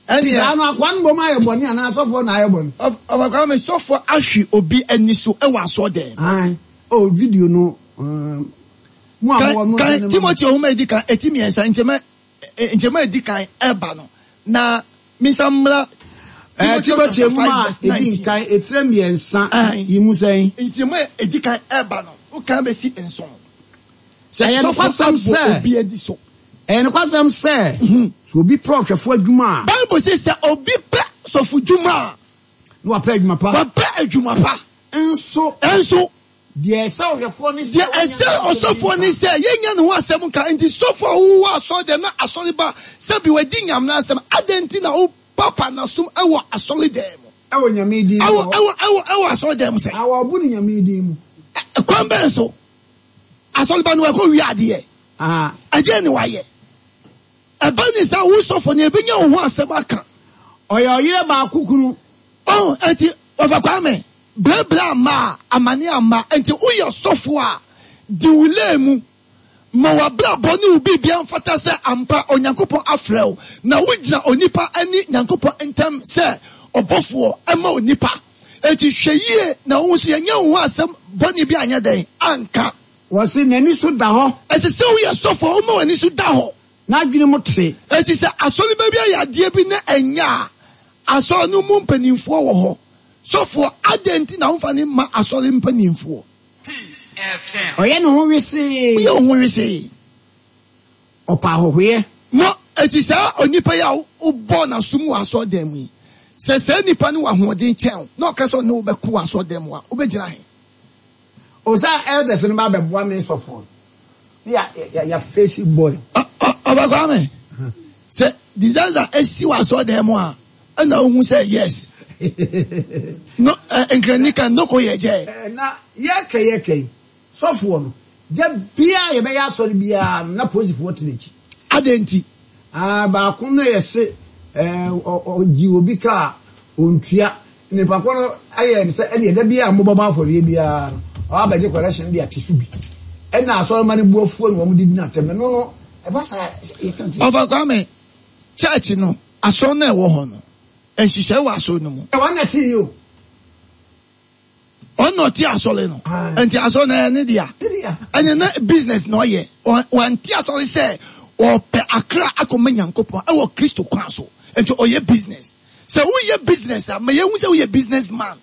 [SPEAKER 3] Ɛnneɛ.
[SPEAKER 1] Saa no akoa no bom ayɛ bɔne anaa asɔfoɔ na ayɛ bɔne?
[SPEAKER 3] Ɔfa Kwame, sɔfoɔ ahwe obi ani so wɔ asɔredan mu.
[SPEAKER 1] Ae. Oh, video no, um, mo a mowɔ no.
[SPEAKER 3] Kan Timoteo nhoma a edi kan, eti mmiɛnsa, nkyɛmu nkyɛmu a edi kan ɛba no, na minsan mmra
[SPEAKER 1] Timoteo nhoma a edi nkan, etire mmiɛnsa yi mu sɛn?
[SPEAKER 3] Nkyɛmu a edi kan ɛba no, wokan besi nson. Sɛ
[SPEAKER 1] Ɛyɛ nokwasɛm sɛ,
[SPEAKER 3] obi ani so.
[SPEAKER 1] Ɛyɛ nokwasɛm sɛ, sɛ obi pɛ ɔhwɛfo adwuma a.
[SPEAKER 3] Bible se sɛ obi pɛ sɔfodwuma a.
[SPEAKER 1] Na wapɛ adwuma pa.
[SPEAKER 3] Wapɛ adwuma pa.
[SPEAKER 1] Nso.
[SPEAKER 3] Nso.
[SPEAKER 1] Deɛ ɛsɛ ɔhwɛfoɔ ne sɛ.
[SPEAKER 3] Deɛ ɛsɛ ɔsɔfoɔ ne sɛ yɛnnya ne ho asɛm nka. Enti sɔfoɔ a wowɔ asɔre dɛm na asɔre ba sɛ bi wadi Nyame n'asɛm, adɛn nti na wo papa n'asom wɔ asɔre dɛm mu?
[SPEAKER 1] Ɛwɔ Nyame din mu.
[SPEAKER 3] Ɛwɔ, ɛwɔ, ɛwɔ, ɛwɔ asɔre dɛm sɛn?
[SPEAKER 1] Na wɔbo no Nyame din mu.
[SPEAKER 3] Ɛ, kwan bɛn so? Asɔre ba no wakɔ wia adeɛ.
[SPEAKER 1] Aha.
[SPEAKER 3] Ɛdeɛn ne wayɛ? Ɛba ne saa wo sɔfo no yɛbɛnya wo ho asɛm aka.
[SPEAKER 1] Ɔyɛ ɔyere baako kunu.
[SPEAKER 3] Oh, enti Wɔfa Kwame, brɛbrɛ amma a, amane amma, enti woyɛ sɔfo a, di wo lane mu. Ma w'abrabɔ ne wo biribiara mfata sɛ ampa Onyankopɔn afrɛ wo, na wogyina onipa ne Nyankopɔn ntam sɛ ɔbɔfoɔ ma onipa. Enti hwɛ yie na wo nso yɛnyɛ wo ho asɛm bɔne bi anyɛ dɛn? Anka.
[SPEAKER 1] Wɔse n'ani so da hɔ.
[SPEAKER 3] Ɛsɛ sɛ woyɛ sɔfo a woma w'ani so da hɔ.
[SPEAKER 1] N'adwene mu te.
[SPEAKER 3] Enti sɛ asɔreba bi ayɛ adeɛ bi na ɛnyɛ a, asɔre no mu mpanimfoɔ wɔ hɔ. Sɔfoɔ, adɛn nti na womfa no mma asɔre mpanimfoɔ?
[SPEAKER 1] Ɔyɛ ne ho wesee.
[SPEAKER 3] Woyɛ wo ho wesee.
[SPEAKER 1] Ɔpɛ ahɔhoyɛ.
[SPEAKER 3] Mo, enti saa onipa yi a wobɔɔ n'asom wɔ asɔredan mu yi, sɛ saa nipa no wɔ ahoɔden kyɛn wo na ɔka sɛ ɔne wo bɛko wɔ asɔredan mu a, wobɛgyina he?
[SPEAKER 1] O sɛ elders no ba bɛboa me sɔfoɔ no ne ya ya ya face boy.
[SPEAKER 3] Ɔba Kwame, sɛ disaster esi wɔ asɔredan mu a, ɛna wohu sɛ yes. No, nkrani ka nnoko yɛ gyɛ.
[SPEAKER 1] Na yɛkɛ yɛkɛ yi, Sɔfoɔ no, da biara a yɛbɛyɛ asɔre biara no, na polisifoɔ te n'akyi.
[SPEAKER 3] Adɛn nti?
[SPEAKER 1] Ah, baako no yɛ se eh, ɔgye obi ka a ɔntua. Nipa ko no ayɛ no sɛ ɛdeɛ da biara a mobɛbɔ afɔreɛ biara no, ɔba abɛgye collection de ate so bi. Ɛna asɔremma no bu afuo na wɔn de di no atɛm. Ɛno no, ɛba saa yɛka sɛ.
[SPEAKER 3] Ɔfa Kwame, church no, asɔre no a ɛwɔ hɔ no, nhyehyɛe wɔ asɔre no mu.
[SPEAKER 1] Wɔn na ɛte yi o.
[SPEAKER 3] Ɔno na ɔte asɔre no. Nti asɔre no ɛyɛ ne dea. Ɛnyɛ na business na ɔyɛ. Wante asɔre sɛ ɔpɛ akra akɔma Nyankopɔn ɛwɔ Kristo kwan so. Nti ɔyɛ business. Sɛ woyɛ business a, ma yɛhu sɛ woyɛ business man.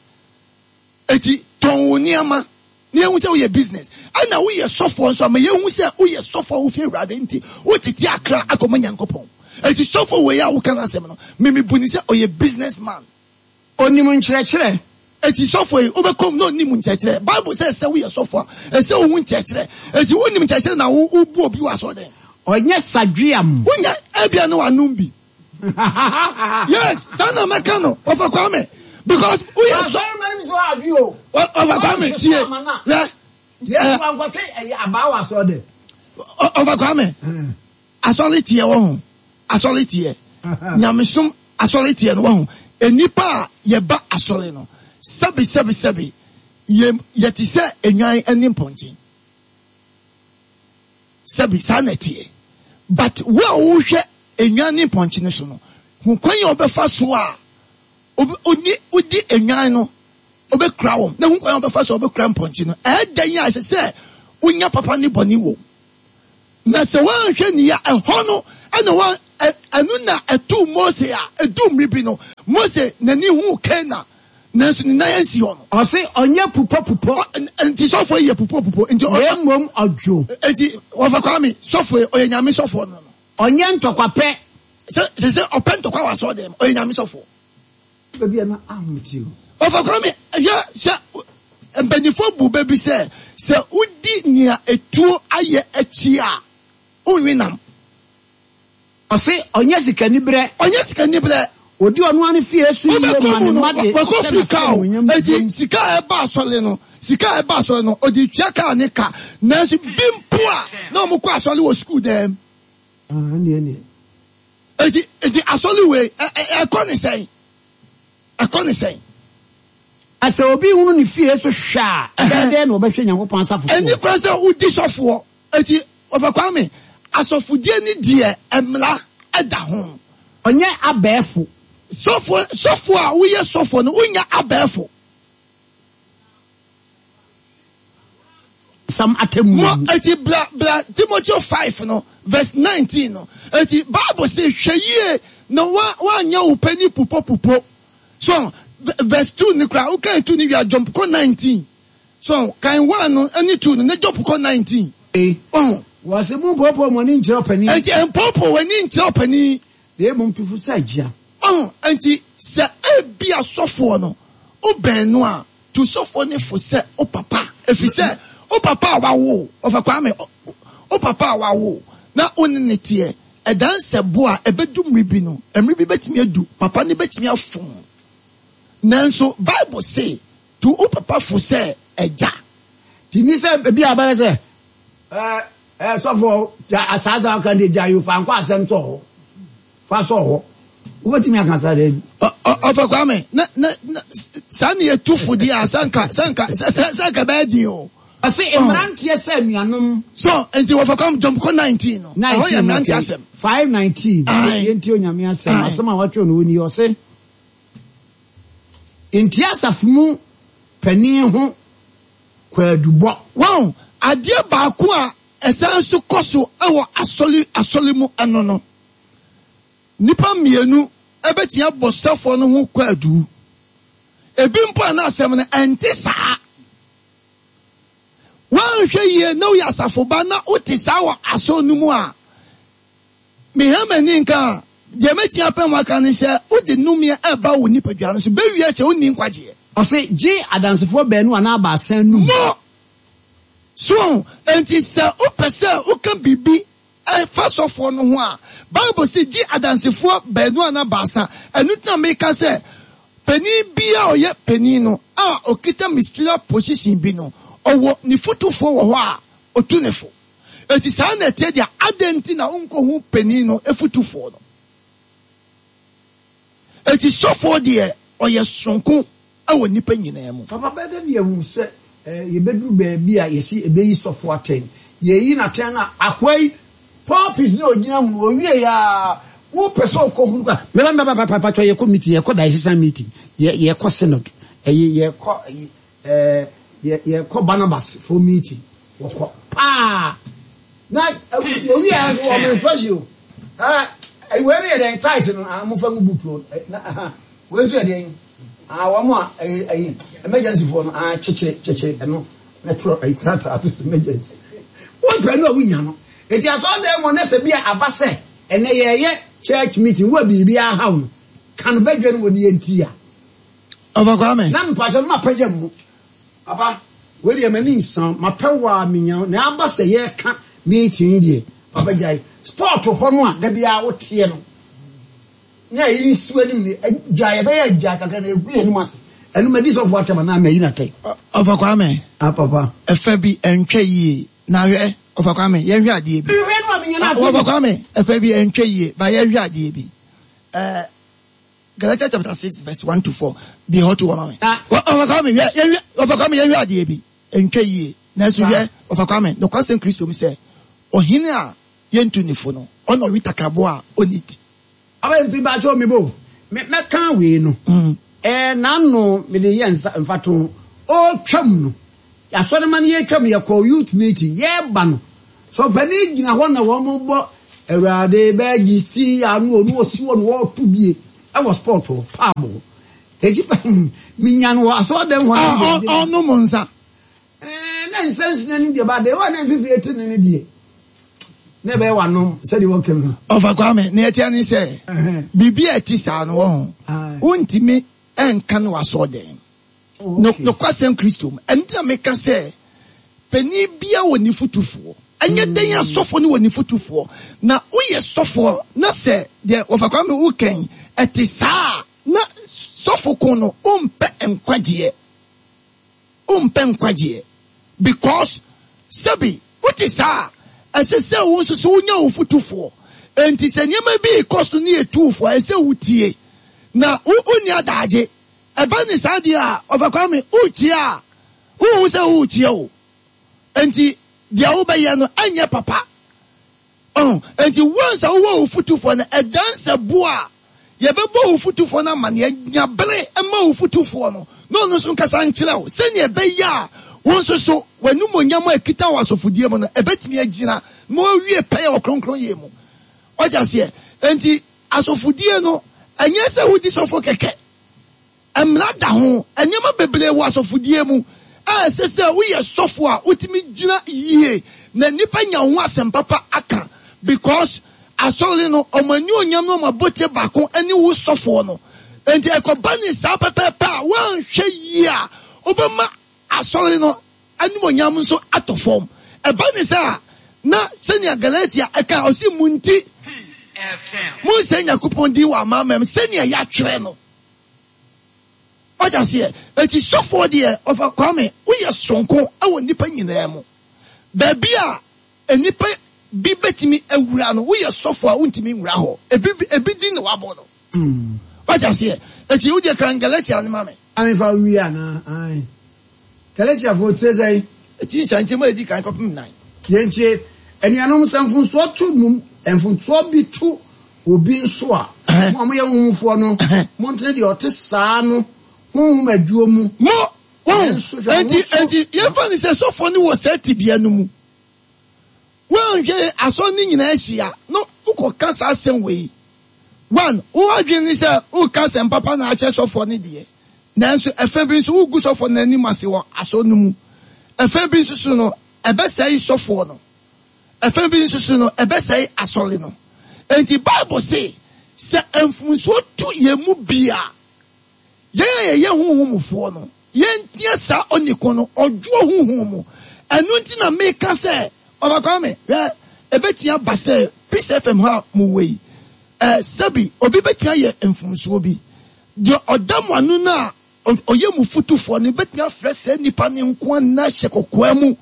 [SPEAKER 3] Nti tɔn wo nneɛma na yɛhu sɛ woyɛ business. Ɛna woyɛ sɔfoɔ nso a, ma yɛhu sɛ woyɛ sɔfoɔ a wofi Awurade nti wotete akra akɔma Nyankopɔn. Nti sɔfoɔ wei a woka n'asɛm no, me mebu no sɛ ɔyɛ business man.
[SPEAKER 1] Onim nkyerɛkyerɛ.
[SPEAKER 3] Enti sɔfo yi, wobɛkɔ mu na onnim nkyerɛkyerɛ. Bible sɛ sɛ woyɛ sɔfo a, ɛsɛ sɛ wohu nkyerɛkyerɛ. Enti wonnim nkyerɛkyerɛ na wo wobu obi wɔ asɔrdan.
[SPEAKER 1] Ɔnyɛ sadweam.
[SPEAKER 3] Wonyɛ, ebia na wanom bi. Yes, saa na mɛka no, Ɔfa Kwame. Because woyɛ sɔ.
[SPEAKER 1] Asɔremma no bi nso adwe o.
[SPEAKER 3] Ɔfa Kwame, tie. Hwɛ.
[SPEAKER 1] Yesu ankɔtwe ɛyɛ abaa wɔ asɔrdan.
[SPEAKER 3] Ɔfa Kwame. Asɔre teɛ wɔ ho, asɔre teɛ, nyamesom asɔre teɛ no wɔ ho. Nnipa a yɛba asɔre no, sɛbe sɛbe sɛbe, yɛ yɛte sɛ nnwan ne mpɔnkye. Sɛbe saa na ɛteɛ. But wo a wohwɛ nnwan ne mpɔnkye no so no, hu kwan a wobɛfa so a wodi nnwan no. ɔbɛkura wɔn, na hu kwan a ɔbɛfa so a ɔbɛkura mpɔnkye no. Ɛyɛ dɛn a ɛsɛ sɛ wonya papa ne bɔne wom? Na sɛ woanhwɛ ni a, ɛhɔ no na wɔn, ɛno na ɛtoo Mose a ɛduu mmere bi no, Mose n'ani huu Kanaan, nanso ne nan ansi hɔ no.
[SPEAKER 1] Ɔse ɔnyɛ pupɔpupɔ.
[SPEAKER 3] Nti sɔfoɔ yi yɛ pupɔpupɔ. Nti ɔ.
[SPEAKER 1] Na mmom ɔdwo.
[SPEAKER 3] Nti wɔfa Kwame, sɔfoɔ yi, ɔyɛ Nyame sɔfoɔ no no.
[SPEAKER 1] Ɔnyɛ ntɔkwapɛ.
[SPEAKER 3] Sɛ, sɛ sɛ ɔpɛ ntɔkwa wɔ asɔɔdan mu, ɔyɛ Nyame sɔfoɔ.
[SPEAKER 1] Baabi a na ahomete o.
[SPEAKER 3] Ɔfa Kwame, hwɛ, sɛ mpanyinfoɔ bu bɛ bi sɛ, sɛ wodi nea etuo ayɛ akyi a, wonwe nam.
[SPEAKER 1] Ɔse ɔnyɛ sikaniberɛ.
[SPEAKER 3] Ɔnyɛ sikaniberɛ.
[SPEAKER 1] Ɔdi ɔno ara ne fie so yie ma ne mma de
[SPEAKER 3] Wakɔ
[SPEAKER 1] hyɛ
[SPEAKER 3] firi kaa o.
[SPEAKER 1] n'asɛnnuonyam
[SPEAKER 3] Enti
[SPEAKER 1] dwom.
[SPEAKER 3] sika a ɛba asɔre no, sika a ɛba asɔre no, ɔde tua kaa ne ka. Nanso bi mpo a, na wɔkɔ asɔre wɔ sukuu dan mu.
[SPEAKER 1] Ah, ɛnneɛ ɛnneɛ.
[SPEAKER 3] Enti, enti asɔre wei, ɛ, ɛ, ɛkɔ ne sɛn? Ɛkɔ ne sɛn?
[SPEAKER 1] Na sɛ obi hunu ne fie so hwɛ a, ɛbɛyɛ dɛn na ɔbɛhwɛ Nyankopɔn asafo soɔ?
[SPEAKER 3] Ɛnni kwan sɛ wodi sɔfoɔ. Enti, Wɔfa Kwame, asɔfodie ne deɛ mmara da ho.
[SPEAKER 1] Ɔnyɛ abɛɛfo.
[SPEAKER 3] Sɔfoɔ, sɔfoɔ a woyɛ sɔfoɔ no, wonyɛ abɛɛfo.
[SPEAKER 1] Sam atemmuo
[SPEAKER 3] Mo,
[SPEAKER 1] mu.
[SPEAKER 3] enti bra, bra Timoteo 5 no, verse 19 no. Enti Bible se, hwɛ yie na wa, woanyɛ wo pɛ ni pupopupo. So, verse 2 no koraa, wokan 2 no wie a, jump kɔ 19. So, kan 1 no ne 2 no, ne jump kɔ 19. Wahu?
[SPEAKER 1] Wɔse mompoopoo mo ani nkyerɛ ɔpanin.
[SPEAKER 3] Enti mpoopoo w'ani nkyerɛ ɔpanin.
[SPEAKER 1] Na mmom tu fo sɛ agya.
[SPEAKER 3] Wahu? Enti sɛ ebia sɔfoɔ no, wobɛn no a, Tu sɔfoɔ no fo sɛ wo papa, ɛfiri sɛ wo papa a wawo wo, Ɔfa Kwame, wo papa a wawo wo na wo ne no teɛ, ɛdan sɛ bo a, ɛbɛdu mmere bi no, mmere bi bɛtumi adu, papa no bɛtumi afom. Nanso Bible se, tu wo papa fo sɛ agya.
[SPEAKER 1] Nti nni sɛ ebi a bɛyɛ sɛ, ɛɛ, ɛɛ, sɔfoɔ, gya asaasa a ɔka deɛ gya yi o, fa nkɔ asɛm sɔ hɔ. Fa sɔ hɔ. Wobɛtumi aka saa daabi.
[SPEAKER 3] Ɔfa Kwame, na, na, na, saa ne yɛtu fo deɛ a, sɛ nka, sɛ nka, sɛ, sɛ, sɛ nka ɛbɛyɛ den o.
[SPEAKER 1] Ɔse mmeranteɛ sɛ anuanom.
[SPEAKER 3] So, nti wɔfa Kwame jump kɔ 19 no. Ɛhɔ yɛ mmeranteɛ asɛm.
[SPEAKER 1] 5:19, Yɛntie Onyame asɛm, asɛm a wɔatwerɛ no hɔ nie, ɔse, Nti asafo mu panin ho kwaadubɔ.
[SPEAKER 3] Wahu, adeɛ baako a ɛsan nso kɔ so wɔ asɔre, asɔre mu ɛno no, Nnipa mmienu bɛtumi abɔ sɔfoɔ no ho kwaadu. Ebi mpo a na asɛm no ɛnte saa. Woanhwɛ yie na woyɛ asafo ba na wote saa wɔ asɔre no mu a, meha m'ani nka a, deɛ mɛtumi apɛ mu aka ne sɛ wode nnomeɛ ɛreba wo nipadua no so. Bɛwie akyɛ wonni nkwagyeɛ.
[SPEAKER 1] Ɔse, gye adansefoɔ baanu anaa baasa anum.
[SPEAKER 3] Mo! So, enti sɛ wopɛ sɛ woka biribi Ɛfa sɔfoɔ no ho a, Bible se, Gye adansefoɔ baanu anaa baasa. Ɛno nti na meka sɛ, panin biara a ɔyɛ panin no a ɔkita ministerial position bi no, ɔwɔ ne fotufoɔ wɔ hɔ a ɔtu no fo. Enti saa na ɛteɛ deɛ a, adɛn nti na wonkɔhu panin no fotufoɔ no? Enti sɔfoɔ deɛ, ɔyɛ sononko wɔ nnipa nyinaa mu.
[SPEAKER 1] Papa bɛyɛ dɛn na yɛahu sɛ yɛbɛduru baabi a yɛse yɛbɛyi sɔfo atɛn? Yɛyi no atɛn no a, akoa yi pulpit no a ɔgyina ho no, ɔwieɛ a, wopɛ sɛ ɔkɔhunu koraa, meba meba papa mpakyɛ yɛkɔ meeting, yɛkɔ diocesan meeting, yɛ yɛkɔ synod, ɛyi yɛkɔ ɛyi ɛɛ yɛ yɛkɔ Barnabas foɔ meeting, wɔkɔ paa. Na ɔwieɛ nso wɔn instruction o, ɛɛ wei no yɛ dɛn tight no, ah mofa ngu boot o, na aha. Wei nso yɛ deɛn? Ah wɔn a ɛyɛ ɛyi emergency foɔ no ah kyekyere kyekyere ɛno na twerɛ ɛyi krataa to so emergency. Wɔn pɛ no a wonya no. Eti asɔredan mu ne sɛ bi a aba sɛ ɛnɛ yɛyɛ church meeting wo a biribi ahaw no ka no badwa no wɔ ne yɛn ti a.
[SPEAKER 3] Ɔfa Kwame.
[SPEAKER 1] Na mpakyɛ no mapagya mu. Papa wei deɛ m'ani nsa mapɛ wo a menya wo na aba sɛ yɛka meeting deɛ papa gyae sport hɔ no a da biara woteɛ no. Na eyi nsi w'anim ne gya yɛbɛyɛ agya kakra na egu yɛn anim ase. Ɛno madi sɔfo atɛm anaa mayi no atɛn?
[SPEAKER 3] Ɔfa Kwame.
[SPEAKER 1] Ah papa.
[SPEAKER 3] Ɛfɛ bi ɛntwa yie na hwɛ Ɔfa Kwame yɛnhwɛ adeɛ bi.
[SPEAKER 1] Nhwɛ no a menya no afei.
[SPEAKER 3] Ɔfa Kwame ɛfɛ bi ɛntwa yie ba yɛnhwɛ adeɛ bi. Ɛɛ Galatians chapter 6 verse 1 to 4 bi hɔ to hɔ ma me. Ɔfa Kwame hwɛ yɛnhwɛ Ɔfa Kwame yɛnhwɛ adeɛ bi ɛntwa yie nanso hwɛ Ɔfa Kwame nokwasɛm Kristo mu sɛ ɔhene a yɛntu ne fo no ɔna ɔwe takraboa a ɔnni ti.
[SPEAKER 1] Aba mfi mpakyɛw me bo me mɛka wei no. Ɛɛ n'ano mede yɛ nsa mfatoho. Ɔretwam no, asɔremma no yɛretwam, yɛkɔɔ youth meeting, yɛreba no, sɔfopanin gyina hɔ na wɔrebɔ Awurade bɛgye sti ano ɔno ɔsi hɔ na wɔreto bie ɛwɔ sport hɔ, pub hɔ. Eti menya no wɔ asɔredan hɔ.
[SPEAKER 3] Ɔnom nsa.
[SPEAKER 1] Ɛɛ na nsa nsina no deɛ ba deɛ wa na mfifiri eti ne no deɛ na ɛbɛyɛ wanom sɛdeɛ wɔka mu.
[SPEAKER 3] Ɔfa Kwame, nea ɛteɛ ne sɛ biribi a ɛte saa no wɔ ho wontumi nka no wɔ asɔɔdan mu. Nokwasɛm Kristo mu. Ɛno nti na meka sɛ panin biara wɔ ne fotufoɔ. Ɛnyɛ dɛn asɔfoɔ no wɔ ne fotufoɔ. Na woyɛ sɔfoɔ na sɛ deɛ Wɔfa Kwame woka yi ɛte saa a na sɔfo ko no wompɛ nkwagyeɛ. Wompɛ nkwagyeɛ because sɛbi wote saa a, ɛsɛ sɛ wo nso so wonya wo fotufoɔ. Enti sɛ nneɛma bi rekɔ so ne yɛtu wo fo a, ɛsɛ sɛ wotie. Na wo wonni adaagye. Ɛba ne saa deɛ a, Ɔfa Kwame, worekyia a, wonhu sɛ worekyia o. Enti deɛ wobɛyɛ no ɛnyɛ papa. Ɔho, enti once a wowɔ wo fotufoɔ no, ɛdan sɛ bo a yɛbɛbɔ wo fotufoɔ no amaneɛ. Nya bere ma wo fotufoɔ no na ɔno nso nkasa nkyerɛ wo sɛnea ɛbɛyɛ a wo nso so w'animuonyam a ɛkita wɔ asɔfodie mu no, ɛbɛtumi agyina ma wawie pɛyɛ wɔ kronkronyɛ mu. Wate aseɛ? Enti asɔfodie no, ɛnyɛ sɛ wodi sɔfo kɛkɛ. Mmara da ho. Nneɛma bebree wɔ asɔfodie mu a ɛsɛ sɛ woyɛ sɔfo a wotumi gyina yie na nnipa nya wo ho asɛm papa aka because asɔre no wɔn anuonyam ne wɔn abotire baako ne wo sɔfoɔ no. Enti ɛkɔba ne saa pɛpɛɛpɛ a woanhwɛ yie a wobɛma asɔre no animuonyam nso atɔ fam. Ɛba ne saa a na sɛnea Galatia ɛka ɔse mo nti monsɛe Nyankopɔn din wɔ amanaman mu sɛnea yɛatwerɛ no. Wate aseɛ? Enti sɔfoɔ deɛ, ɔfa Kwame, woyɛ soronko wɔ nnipa nyinaa mu. Baabi a nnipa bi bɛtumi awura no, woyɛ sɔfoɔ a wontumi nwura hɔ. Ebi, ebi din na wabɔ no. Wate aseɛ? Enti wo deɛ kan Galatia no ma me.
[SPEAKER 1] Amefa nwie anaa? Ae. Galatiafoɔ tire sɛn?
[SPEAKER 3] Eti nsia nkyɛmu a edi kan kɔpem nan.
[SPEAKER 1] Yɛntie, anuanom, sɛ mfomsoɔ to mo, mfomsoɔ bi to obi nso a, mo a moyɛ honhomfoɔ no, montene deɛ ɔte saa no honhom adwuo mu.
[SPEAKER 3] Mo, wɔn,
[SPEAKER 1] Nanso hwɛ wo
[SPEAKER 3] enti,
[SPEAKER 1] ho so.
[SPEAKER 3] enti, yɛmfa no sɛ sɔfoɔ no wɔ saa tebea no mu. Woanhwɛ asɔre no nyinaa ahyia na wokɔka saa asɛm wei. One, wo adwene ne sɛ woreka asɛm papa na akyerɛ sɔfoɔ no deɛ, nanso ɛfã bi nso woregu sɔfoɔ no anim ase wɔ asɔre no mu. Ɛfã bi nso so no, ɛbɛsɛe sɔfoɔ no. Ɛfã bi nso so no, ɛbɛsɛe asɔre no. Enti Bible se, sɛ mfomsoɔ to yɛn mu bi a, Yɛn a yɛyɛ honhomfoɔ no, yɛnteɛ saa ɔniko no ɔdwoɔ honhom mu. Ɛno nti na meka sɛ, Ɔfa Kwame, hwɛ, ɛbɛtumi aba sɛ Peace FM ha a mowɔ yi, eh, sɛbi obi bɛtumi ayɛ mfomsoɔ bi. Deɛ ɔda mo ano no a ɔyɛ mo fotufoɔ no bɛtumi afrɛ saa nipa no nko ara ne no ahyɛ kɔkoa mu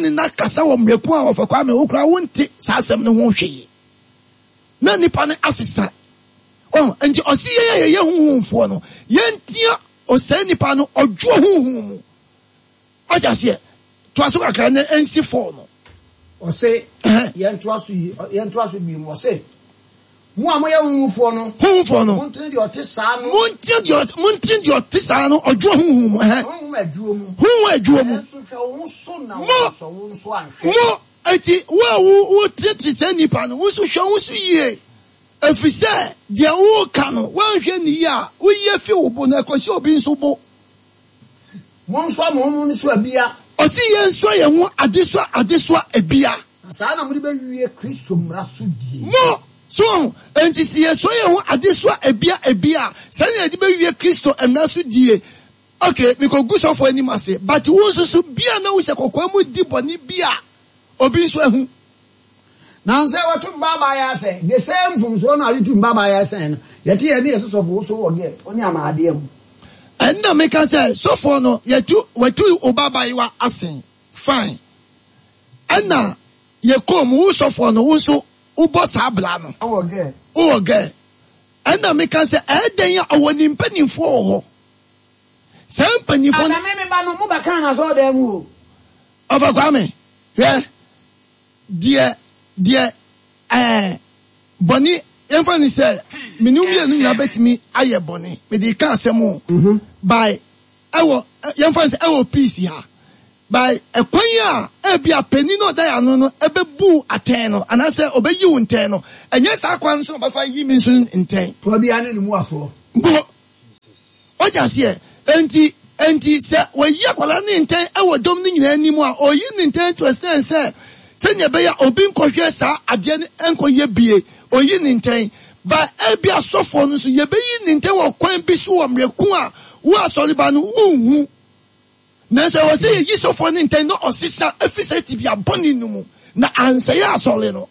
[SPEAKER 3] ne no akasa wɔ mmerɛ ko a Ɔfa Kwame wo koraa wonte saa asɛm no ho hwee. Na nipa no asesa. Ɔho, nti ɔse yɛn a yɛyɛ honhomfoɔ no, yɛntia ɔsɛe nipa no ɔdwoɔ honhom mu. Wate aseɛ? Toa so kakra na ɛnsi fɔɔ no.
[SPEAKER 1] Ɔse, yɛntoa so yi, yɛntoa so bio mu, ɔse, Mo a moyɛ honhomfoɔ no,
[SPEAKER 3] honhomfoɔ no,
[SPEAKER 1] montene deɛ ɔte saa no,
[SPEAKER 3] montene deɛ ɔte, montene deɛ ɔte saa no ɔdwoɔ honhom mu, ɛhɛn,
[SPEAKER 1] honhom adwoɔ mu,
[SPEAKER 3] honhom adwoɔ mu.
[SPEAKER 1] Nanso hwɛ wo ho so na
[SPEAKER 3] Mo,
[SPEAKER 1] wɔansɔ wo nso anhwɛ.
[SPEAKER 3] mo, enti wo a wo, wotenetene saa nipa no, wo nso hwɛ wo ho so yie. Efisɛ deɛ woreka no, woanhwɛ no yie a, woyi afi wo bo na ɛkɔhyɛ obi nso bo.
[SPEAKER 1] Monsoa mo ho mo nnesoa bia.
[SPEAKER 3] Ɔse yɛnsoa yɛn ho adesoa adesoa bia.
[SPEAKER 1] Na saa na mode bɛwie Kristo mmara so die.
[SPEAKER 3] Mo, so wahu? Enti se yɛsoa yɛn ho adesoa bia bia a, saa na yɛde bɛwie Kristo mmara so die. Ok, mekɔgu sɔfoɔ anim ase, but wo nso so, bia na wohyɛ kɔkɔɔ mu di bɔne bi a obi nso ahu.
[SPEAKER 1] Nansa yi wɔto mmabaayewa sɛ the same mfomsoɔ no a wɔde tu mmabaayewa sɛn no, yɛte yɛn ne yɛse sɔfo wo so wɔ gɛ wo ne amaadeɛ mu.
[SPEAKER 3] Ɛnna meka sɛ, Sɔfoɔ no, yɛtu, watu wo babaayewa asen, fine. Ɛnna yɛkɔɔ mu, wo sɔfoɔ no, wo nso wobɔ saa bra no.
[SPEAKER 1] Wowɔ gɛ.
[SPEAKER 3] Wowɔ gɛ. Ɛnna meka sɛ, Ɛyɛ dɛn a ɔwɔ ne mpanimfoɔ wɔ hɔ? Saa mpanimfoɔ no.
[SPEAKER 1] Ada me me ba no, mobɛkaa no asɔredan mu o.
[SPEAKER 3] Ɔfa Kwame, hwɛ. Deɛ, deɛ, ɛɛ, bɔne. yɛmfa no sɛ me ne wo mmienu nyinaa bɛtumi ayɛ bɔne, mede reka asɛm o, by ɛwɔ, yɛmfa no sɛ ɛwɔ peace ha, by ɛkwan a ebia panin no a ɔda yɛn ano no ɛbɛbu wo atɛn no anaasɛ ɔbɛyi wo ntɛn no, ɛnyɛ saa kwan no so na ɔbɛfa ayi me nso ntɛn.
[SPEAKER 1] Toa biara ne ne mmuasoɔ.
[SPEAKER 3] Mpo. Wate aseɛ? Enti, enti sɛ wɔyi akwadaa no ntɛn wɔ dɔm no nyinaa anim a, ɔyi no ntɛn to ɛsiane sɛ sɛnea ɛbɛyɛ a obi nkɔhwɛ saa adeɛ no nkɔyɛ bie, ɔyi no ntɛn. Ba ebia asɔfoɔ no nso, yɛbɛyi no ntɛn wɔ kwan bi so wɔ mmerɛ ko a wo asɔreba no wonhu. Nanso ɛwɔ sɛ yɛyi sɔfoɔ no ntɛn na ɔsesa firi saa tebea bɔne no mu na ansɛe asɔre no.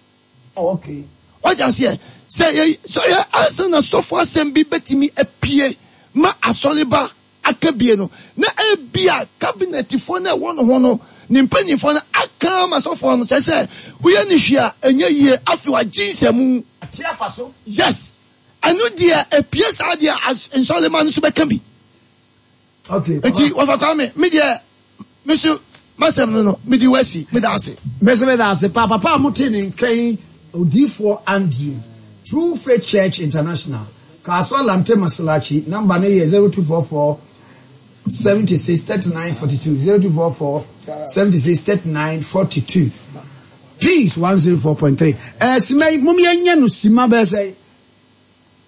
[SPEAKER 1] Oh, okay.
[SPEAKER 3] Wate aseɛ? Sɛ yɛ, sɛ yɛ ansa na sɔfo asɛm bi bɛtumi apue ma asɔreba aka bie no, na ebia kabinɛtifoɔ no a ɛwɔ ne ho no, ne mpanimfoɔ no aka ama sɔfoɔ no, kyerɛ sɛ woyɛ no hwee a ɛnyɛ yie, afei wagye nsɛmu.
[SPEAKER 1] Ate afa so.
[SPEAKER 3] Yes. Ɛno deɛ epue saa deɛ a, nsɔrema no nso bɛka bi.
[SPEAKER 1] Okay,
[SPEAKER 3] Eti wɔfa Kwame, me deɛ me so m'asɛm no no, mede wo asi, meda ase.
[SPEAKER 1] Me nso meda ase paa. Papa a mote ne nka yi, Odiyifoɔ Andrew, True Faith Church International, Kasoa Lamte Maslachi, number no yɛ 0244 76 39 42, 0244 76 39 42. Peace 104.3. Eh, sima yi, mom yɛnyɛ no sima bɛyɛ sɛ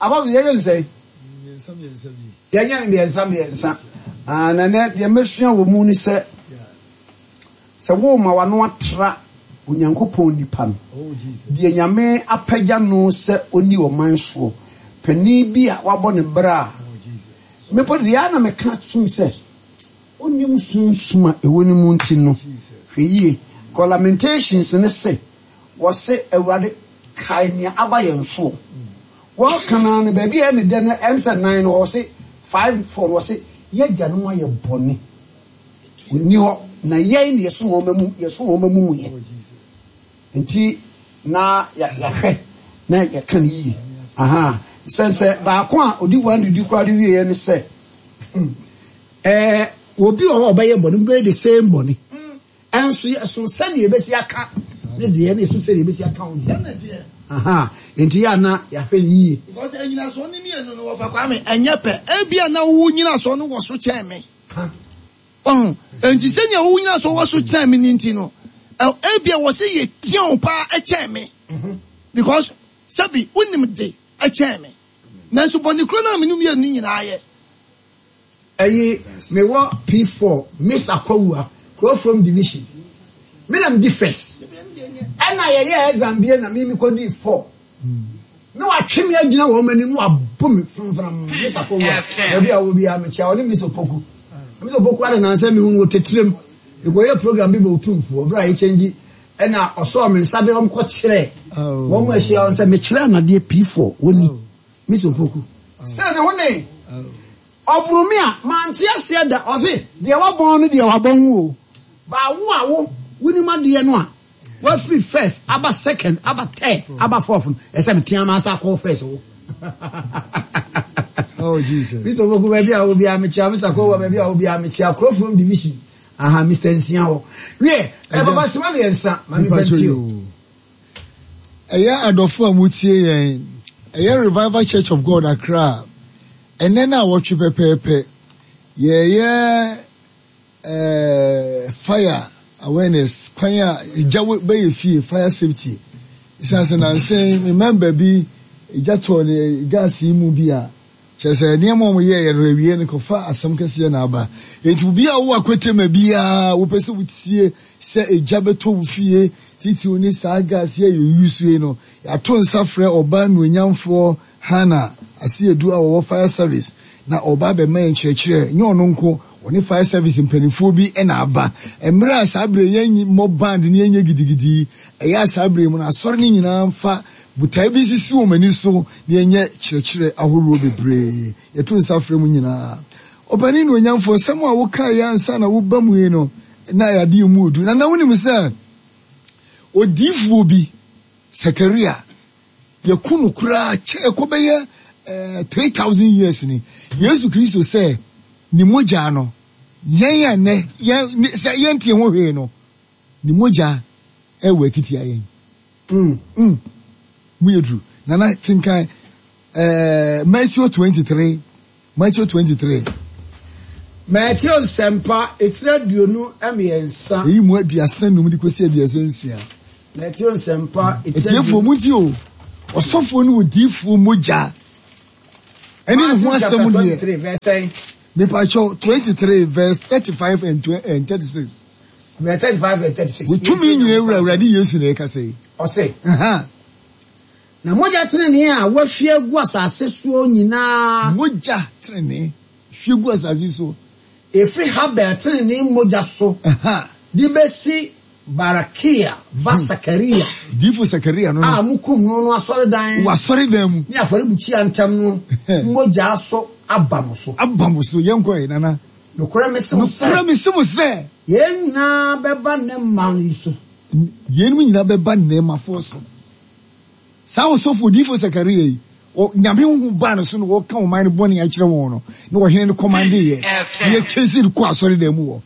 [SPEAKER 1] Abɔfo, yɛnyɛ no sɛn?
[SPEAKER 4] Mmiɛnsa mmiɛnsa bi.
[SPEAKER 1] Yɛnyɛ no mmiɛnsa mmiɛnsa. Ah, na nɛ deɛ mɛsua wɔ mu ne sɛ, sɛ worema w'ano atra Onyankopɔn nipa no,
[SPEAKER 4] Oh, Jesus.
[SPEAKER 1] deɛ Nyame apagya no sɛ ɔnni ɔman soɔ, panin bi a wabɔ ne bra a,
[SPEAKER 4] Oh, Jesus.
[SPEAKER 1] me mpo deɛ ara na meka sum sɛ, ɔnnim sunsum a ɛwɔ ne mu nti no, hwɛ yie. Kɔ Lamentations no se, Wɔse, Awurade, kae nea aba yɛn soɔ. Wɔka no ara no, baabi a ɛyɛ me dɛ no, ɛm sɛ nan no, wɔse, 5, 4 no, wɔse, Yɛn agyanom ayɛ bɔne, wɔnni hɔ, na yɛn na yɛso wɔn amu, yɛso wɔn amumuyɛ. Nti, na yɛahwɛ na yɛka no yie. Aha. Sɛ sɛ baako a ɔdi wɔn adidi koraa de wieɛ ne sɛ, ɛɛ, obi wɔ hɔ a ɔbɛyɛ bɔne, mobɛyɛ the same bɔne. Nso ɛsono sɛdeɛ yɛbɛsi aka ne deɛ na ɛsono sɛdeɛ yɛbɛsi aka wo deɛ. Aha, nti yɛ a na yɛahwɛ no yie.
[SPEAKER 3] Because nnyinasoɔ no mmienu no wɔfa Kwame ɛnyɛ pɛ. Ebia na wo nnyinasoɔ no wɔ so kyɛn me.
[SPEAKER 1] Ka.
[SPEAKER 3] Wahu? Enti sɛnea wo nnyinasoɔ wɔ so kyɛn me no nti no, ebia wɔ sɛ yɛtia wo paa kyɛn me. Because sɛbi wonim de kyɛn me. Nanso bɔne korɔ no a me ne wo mmienu nyinaa yɛ.
[SPEAKER 1] Ɛyi me wɔ P4 Miss Akwawua Kurofrom division me na me di first ɛna yɛ yɛ exam bie na me me kɔ di 4 na watwe me agyina wɔn anim na wabɔ me framfram Miss Akwawua baabi a wɔ biara mekyia ɔne Miss Opoku Miss Opoku ade nansɛ me hu no wɔ tetirem mekɔyɛ program bi bɔ otumfoɔ berɛ a yɛkyɛngyi ɛna ɔsɔɔ me nsa de wɔn kɔ kyerɛ wɔn ahyia wɔn sɛ mekyerɛ anadeɛ P4 wɔni Miss Opoku sɛ ne ho ne Ɔboro me a, mante aseɛ da. Ɔse, deɛ wabɔn no deɛ wabɔn wo o. But wo a wo, wonim adeɛ no a, wafiri first aba second, aba third, aba fourth no, ɛsɛ metea m'asa akɔ first wo.
[SPEAKER 4] Oh Jesus.
[SPEAKER 1] Mr. Opoku baabi a wo biara mekyia, Mr. Kowa baabi a wo biara mekyia, Kurofrom division, aha, Mr. Nsia hɔ. Wiɛ, eh, papa sima mmiɛnsa, ma me
[SPEAKER 4] Mpacho
[SPEAKER 1] mfa
[SPEAKER 4] yo.
[SPEAKER 1] o.
[SPEAKER 4] Ɛyɛ adɔfo a motie yɛn, ɛyɛ Revival Church of God Accra. Ɛnnɛ naawɔtwe pɛpɛɛpɛ, yɛreyɛ eh, fire awareness, kwan a egya bɛyɛ fie, fire safety. Ɛsiane sɛ nansa yi, me member bi, egya tɔɔ ne gas yi mu bi a, kyerɛ sɛ nneɛma a wɔyɛeɛ no awie no kɔfa asɛm kɛseɛ na aba. Enti obi a wowɔ akwatama biara, wopɛ sɛ wotie sɛ egya bɛtɔ wo fie, titiriw ne saa gas yi a yɛuse yi no, yɛato nsa frɛ ɔbaa nuonyamfoɔ Hannah Asiedu a ɔwɔ Fire Service na ɔreba abɛma yɛn nkyerɛkyerɛ. Nyɛ ɔno nko, ɔne Fire Service mpanimfoɔ bi na aba. Mmerɛ a saa berɛ yi yɛmmɔ band na yɛnyɛ gidigidi yi, ɛyɛ a saa berɛ yi mu no asɔre no nyinaa mfa botaeɛ bi nsisi wɔn ani so na yɛnyɛ kyerɛkyerɛ ahoroɔ bebree. Yɛto nsa frɛ mo nyinaa. Ɔpanin Nuonyamfoɔ, nsɛm a wokaeɛ ansa na woreba mu yi no, na ɛyɛ adeɛ a ɛmu ɔdu. Na na wonim sɛ odiyifoɔ bi, Sakaria, Yɛku no koraa kyɛ ɛkɔ bɛyɛ eh, 3000 years ni. Yesu Kristo sɛ ne mogya no, yɛn a nnɛ, yɛn, sɛ yɛnte ho hwee no, ne mogya ɛwɔ akitia yɛn. Mm, mm, mu yɛ duru. Nana kenkan ɛɛ Matthew 23, Matthew 23.
[SPEAKER 1] Mateo Nsɛmpa, etire 23.
[SPEAKER 4] Eyi mu 35 de kɔsi 36.
[SPEAKER 1] Mateo Nsɛmpa, etire
[SPEAKER 4] Atiefoɔ mu nti o, ɔsɔfoɔ ne odiyifoɔ mogya ɛne ne ho asɛm deɛ. Mepakyɛw, 23 verse 35 and 36.
[SPEAKER 1] Verse 35 and 36.
[SPEAKER 4] Wo tumi nyina wura Awurade Yesu na ɛkasa yi.
[SPEAKER 1] Ɔse. Na mogya tenenee a wɔahwie agu asase soɔ nyinaa.
[SPEAKER 4] Mogya tenenee hwie gu asase soɔ.
[SPEAKER 1] Ɛfiri Habel tenenee mogya so de bɛsi Barakia ba Sakaria.
[SPEAKER 4] Diifo Sakaria no.
[SPEAKER 1] A mokum no no asɔredan.
[SPEAKER 4] Wɔ asɔredan mu.
[SPEAKER 1] Ne afɔrebukyia ntam no mogya so aba mo so.
[SPEAKER 4] Aba mo so. Yɛnkɔ ɛ, Nana.
[SPEAKER 1] Nokorɛ mese mo sɛ.
[SPEAKER 4] Nokorɛ mese mo sɛ.
[SPEAKER 1] Yei nyinaa bɛba nnɛ mma yi so.
[SPEAKER 4] Yeinom nyinaa bɛba nnɛ mmafoɔ so. Saa ɔsɔfo odiyifo Sakaria yi, Nyame honhom baa ne so na ɔreka ɔman no bɔne akyerɛ wɔn no, na ɔhene no kɔmandeeɛ, na yɛkyɛsii no kɔɔ asɔredan mu hɔ,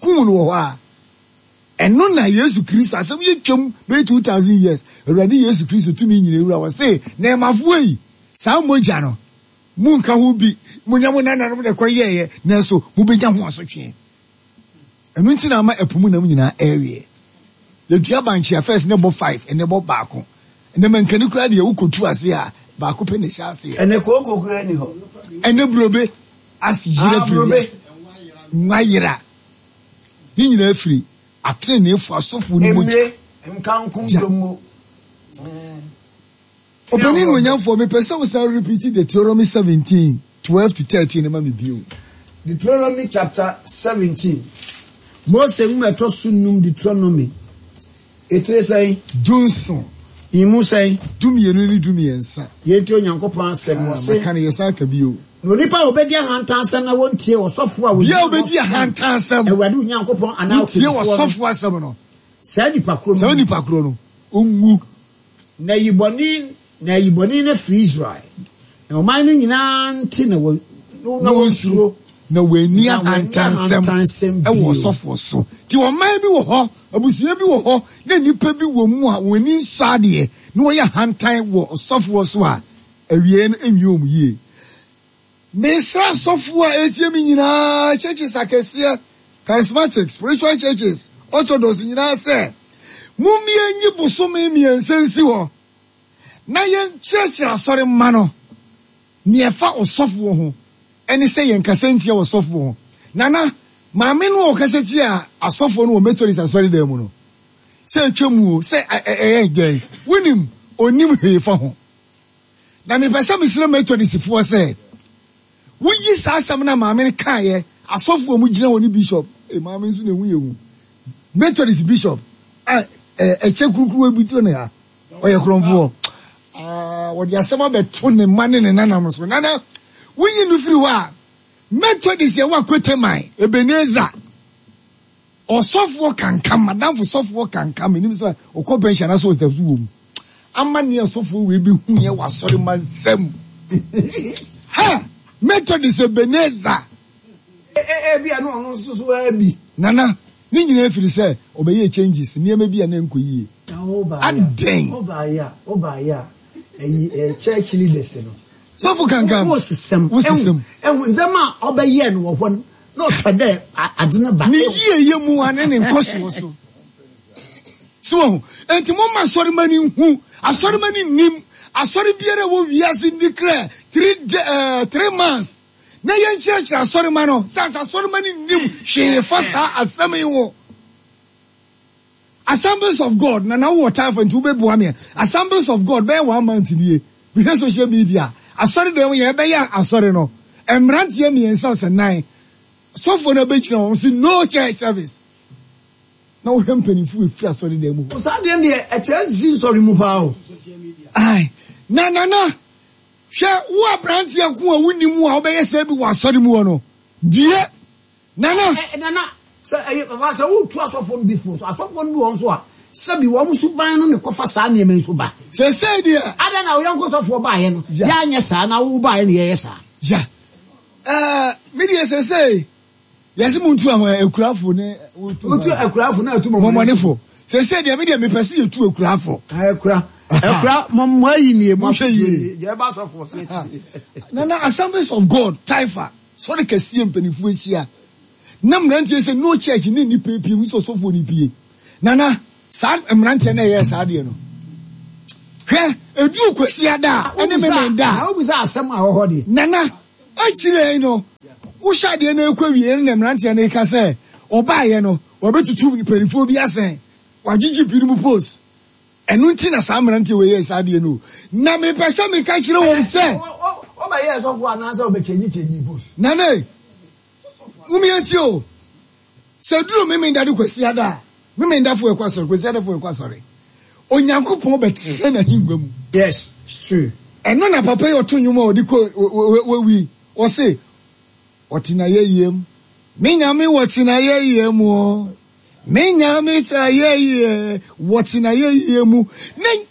[SPEAKER 4] kum no wɔ hɔ a. Ɛno na Yesu Kristo, asɛm yi atwam bɛyɛ 2000 years, Awurade Yesu Kristo tumi nyina wura, ɔse, Nɛɛmafoɔ yi, saa mogya no, monka ho bi, monyɛ mo nananom na ɛkɔyɛeɛ, nanso mobɛnya ho asotweɛ. Ɛno nti na ama ɛpo mu nam nyinaa ɛreweɛ. Yɛdua bankye a first na ɛbɔ five, ɛnɛ ɛbɔ baako. Ɛnɛ mankani koraa deɛ wokɔtu ase a baako pɛ na ɛhyɛ aseɛ.
[SPEAKER 1] Ɛnɛ kooko koraa nni hɔ.
[SPEAKER 4] Ɛnɛ burobe ase yera
[SPEAKER 1] Ah,
[SPEAKER 4] firi
[SPEAKER 1] burobe.
[SPEAKER 4] wiase. Nwa yera. Ne nyinaa firi ateneneefo asɔfoɔ no mogya.
[SPEAKER 1] Mmire, nkankom,
[SPEAKER 4] Gya.
[SPEAKER 1] dongo.
[SPEAKER 4] Ɔpanin nuonyamfoɔ, mepɛ sɛ wosan repeat Deuteronomy 17, 12 to 13 no ma me bio.
[SPEAKER 1] Deuteronomy chapter 17. Mose nwoma ɛtɔ so num Deuteronomy. Etire sɛn?
[SPEAKER 4] 17.
[SPEAKER 1] Emu sɛn?
[SPEAKER 4] 12 ne 13.
[SPEAKER 1] Yɛntie Onyankopɔn asɛm.
[SPEAKER 4] Ah,
[SPEAKER 1] Ɔse.
[SPEAKER 4] maka no yɛsan ka bio.
[SPEAKER 1] Na onipa a obedi ahantansɛm na wontie ɔsɔfoɔ a
[SPEAKER 4] Bia
[SPEAKER 1] ogyina hɔ
[SPEAKER 4] obedi
[SPEAKER 1] som
[SPEAKER 4] ahantansɛm.
[SPEAKER 1] Awurade wo Nyankopɔn anaa
[SPEAKER 4] Wontie
[SPEAKER 1] ɔkannifoɔ no,
[SPEAKER 4] ɔsɔfoɔ asɛm no.
[SPEAKER 1] saa nipa korɔ no
[SPEAKER 4] Saa
[SPEAKER 1] nwu.
[SPEAKER 4] nipa korɔ no, ɔnwu.
[SPEAKER 1] Na yi bɔne, na ayi bɔne no afiri Israel, na ɔman no nyinaa nte na wɔ, na wɔnsuro,
[SPEAKER 4] Na wɔanni
[SPEAKER 1] na wɔanni
[SPEAKER 4] ahantansɛm
[SPEAKER 1] ahantansɛm
[SPEAKER 4] wɔ
[SPEAKER 1] bio.
[SPEAKER 4] ɔsɔfoɔ so. Nti ɔman bi wɔ hɔ, abusua bi wɔ hɔ, na nnipa bi wɔ mu a wɔn ani nsɔ adeɛ, na wɔyɛ ahantan wɔ ɔsɔfoɔ so a, awieɛ no ɛnwie wɔn yie. Mesrɛ asɔfoɔ a ɛretie me nyinaa, churches akɛseɛ, charismatic, spiritual churches, orthodox nyinaa sɛ, mommie nyi bosome mmiɛnsa nsi hɔ na yɛnkyerɛkyerɛ asɔre mma no nea ɛfa ɔsɔfoɔ ho ɛne sɛ yɛnkasa ntia ɔsɔfoɔ ho. Nana, maame no a ɔkasa tia asɔfoɔ no wɔ Methodist asɔredan mu no, sɛ atwa mu o, sɛ ɛyɛ dɛn, wonim, ɔnnim hwee fa ho. Na mepɛ sɛ mesrɛ Methodistfoɔ sɛ, woyi saa asɛm no a maame no kaeɛ, asɔfoɔ a wɔgyina hɔ ne bishop, eh, maame nso na ɛhu yɛ hu, Methodist bishop a ɛkyɛ kurukuruwa bi to ne ha, ɔyɛ korɔmfoɔ. Ah, wɔde asɛm abɛto ne mma ne ne nanam so. Nana, woyi no firi hɔ a, Methodist yɛwɔ Akoteman, Ebenezer, Ɔsɔfoɔ kankam, madamfo sɔfoɔ kankam, menim sɛ ɔkɔ pension anaasɛ ɔda so wɔ mu. Amanneɛ ɔsɔfoɔ wei bi hu yɛ wɔ asɔre ma nsam. Ha! Methodist Ebenezer.
[SPEAKER 1] Ebi a na ɔno nso so ara bi.
[SPEAKER 4] Nana, ne nyinaa firi sɛ ɔbɛyɛɛ changes, nneɛma bi a na ɛnkɔ yie. Adɛn?
[SPEAKER 1] Wobaeɛ a, wobaeɛ a, ɛyi church leaders no.
[SPEAKER 4] Sɔfo kankam.
[SPEAKER 1] Wosesɛm.
[SPEAKER 4] Wosesɛm.
[SPEAKER 1] Ehu ndzɛmba a ɔbɛyɛɛ no wɔ hɔ no. Na ɔpɛ dɛ adze no ba.
[SPEAKER 4] Ne yieyɛ mu ara ne ne nkɔsoɔ so. So wahu? Enti momma asɔremma no nhu. Asɔremma no nnim. Asɔre biara a ɛwɔ wiase nni krɛ three, 3 months na yɛnkyerɛkyerɛ asɔremma no. Sɛ ansa asɔremma no nnim hwee fa saa asɛm yi ho. Assemblies of God, na na wowɔ time for nti wobɛboa me. Assemblies of God bɛyɛ one month nie. Mehwɛ social media. Asɔre dɛm yɛ ɛbɛyɛ asɔre no. Mmeranteɛ mmiɛnsa sɛ nan. Sɔfoɔ no abɛgyina wɔn se no church service. Na wohwɛ mpanimfoɔ efiri asɔre dɛm mu hɔ.
[SPEAKER 1] Saa deɛ deɛ ɛkyerɛ sisi nsɔre mu paa o.
[SPEAKER 4] Ai, na nana, hwɛ wo aberanteɛ ko a wonni mu a wobɛyɛ sɛ bi wɔ asɔre mu hɔ no. Due. Nana.
[SPEAKER 1] Nana, sɛ ɛyɛ papa sɛ wotu asɔfoɔ no bi fo so, asɔfoɔ no bi wɔ nso a, sɛbi wɔn suban no na ɛkɔfa saa nneɛma yi so ba.
[SPEAKER 4] Sɛsɛi deɛ.
[SPEAKER 1] Adɛn na wo yɔnko sɔfoɔ baeɛ no, yɛanyɛ saa, na wo baeɛ no yɛyɛ saa?
[SPEAKER 4] Ya. Ɛɛ, me deɛ sɛsɛi, yɛse montu ahwan, akurafo ne wotu
[SPEAKER 1] Wotu akurafo na atu
[SPEAKER 4] mɔmɔnefo. Sɛsɛi deɛ, me deɛ mepɛ sɛ yɛtu akurafo.
[SPEAKER 1] Akura. Ɛkura mo mo ayi nie mo
[SPEAKER 4] Monhwɛ yie.
[SPEAKER 1] Deɛ ɛba asɔfoɔ so akyi.
[SPEAKER 4] Nana Assemblies of God Taifa sɔre kɛseɛ mpanimfoɔ ahyia na mmeranteɛ sɛ no church ne nnipa pie mu sɛ ɔsɔfoɔ no pie. Nana saa mmeranteɛ no ɛyɛɛ saa deɛ no hwɛ ɛduru Kwasiada a ɛne Memenda a.
[SPEAKER 1] Na wobisa asɛm a ɛwɔ hɔ deɛ.
[SPEAKER 4] Nana akyire yi no wohyɛ adeɛ no ɛkɔ wie no na mmeranteɛ no reka sɛ ɔbaeɛ no wɔbɛtutu mpanimfoɔ bi asɛn wagyegye binom post. Ɛno nti na saa mmeranteɛ wei yɛɛ saa adeɛ no o. Na mepɛ sɛ meka kyerɛ wɔn sɛ.
[SPEAKER 1] Wobɛyɛɛ sɔfoɔ anaasɛ wobɛkyɛngyi post?
[SPEAKER 4] Nana e, mom yɛntie o. Sɛ ɛduru Memenda ne Kwasiada a, Memendafoɔ ɛkɔ asɔre, Kwasiadafoɔ ɛkɔ asɔre. Onyankopɔn bɛtena n'ahengua mu.
[SPEAKER 1] Yes, it's true.
[SPEAKER 4] Ɛno na papa yi ɔto nnwom a ɔde kɔ wawi, ɔse, Ɔte n'ayɛyie mu, me Nyame wɔte n'ayɛyie mu o. Me Nyame te ayɛyie, wɔte n'ayɛyie mu. Ne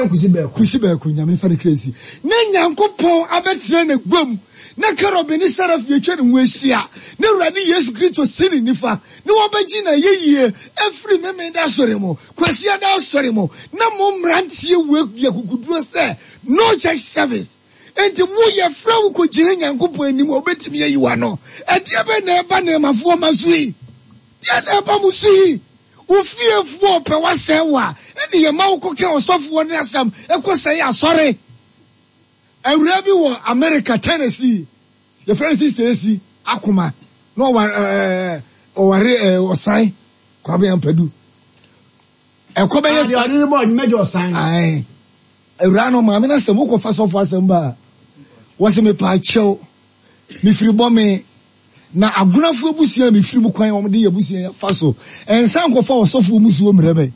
[SPEAKER 1] Kusi bɛɛko.
[SPEAKER 4] Kusi bɛɛko, Nyame mfa ne kra nsi. Ne Nyankopɔn abɛtena n'agua mu, na Kerubim ne Serafi atwa ne ho ahyia, na Awurade Yesu Kristo si ne nifa, na wɔbɛgye n'ayɛyie afiri Memenda asɔre mu, Kwasiada asɔre mu, na mo mmeranteɛ wei de akokoduro sɛ, No church service. Enti wo, yɛfrɛ wo kɔgyina Nyankopɔn anim a, ɔbɛtumi ayi wo ano. Ɛdeɛ bɛn na ɛba Nɛɛmafoɔ mma so yi? Deɛn na ɛba mo so yi? Wo fiefoɔ repɛ w'asɛe wo a, ɛne yɛma wo kɔka ɔsɔfoɔ no asɛm kɔsɛe asɔre. Awuraa bi wɔ Amerika, Tennessee, yɛfrɛ no Sister Esi Akoma, na ɔware ɛɛ ɔware ɛɛ Ɔsan Kwame Ampadu. Ɛkɔ bɛyɛ.
[SPEAKER 1] Ah, deɛ ɔde no bɔ mɛgye Ɔsan.
[SPEAKER 4] Ae. Awuraa no maame no asɛm wokɔfa sɔfo asɛm ba a, wɔse mepaakyɛw, mefiri bɔ me Na agonafo abusua a mefiri mu kwan a wɔde yɛ abusua yi afa so nsa nkɔfa ɔsɔfoɔ musuo mmerɛ me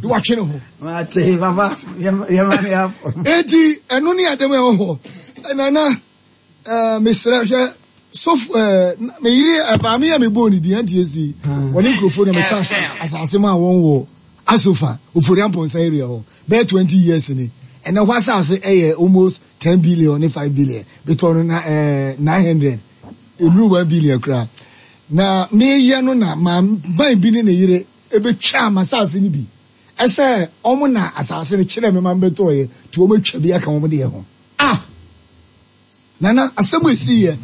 [SPEAKER 4] na watwe ne ho.
[SPEAKER 1] Mate papa yɛma ne afɔ.
[SPEAKER 4] Enti ɛno ne adɛm a ɛwɔ hɔ. Nana eh, mesrɛ hwɛ sɔfo eh, me yere eh, maame a mebɔɔ ne din anti esi wɔne nkurɔfoɔ na metɔ asase maa wɔn wɔ Asofa Ofori Amponsah area hɔ bɛyɛ 20 years ni. Ɛnɛ hɔ asase ɛyɛ almost 10 billion ne 5 billion. Metɔɔ no na eh, 900. Ennuru 1 billion koraa. Na meyɛ no na man bi ne ne yere betwaa m'asase no bi. Ɛsɛ wɔn na asase no kyerɛɛ me ma mebɛtɔeɛ, nti wɔatwa bi aka wɔn deɛ ho. Ah! Nana, asɛm a ɛsiiɛ,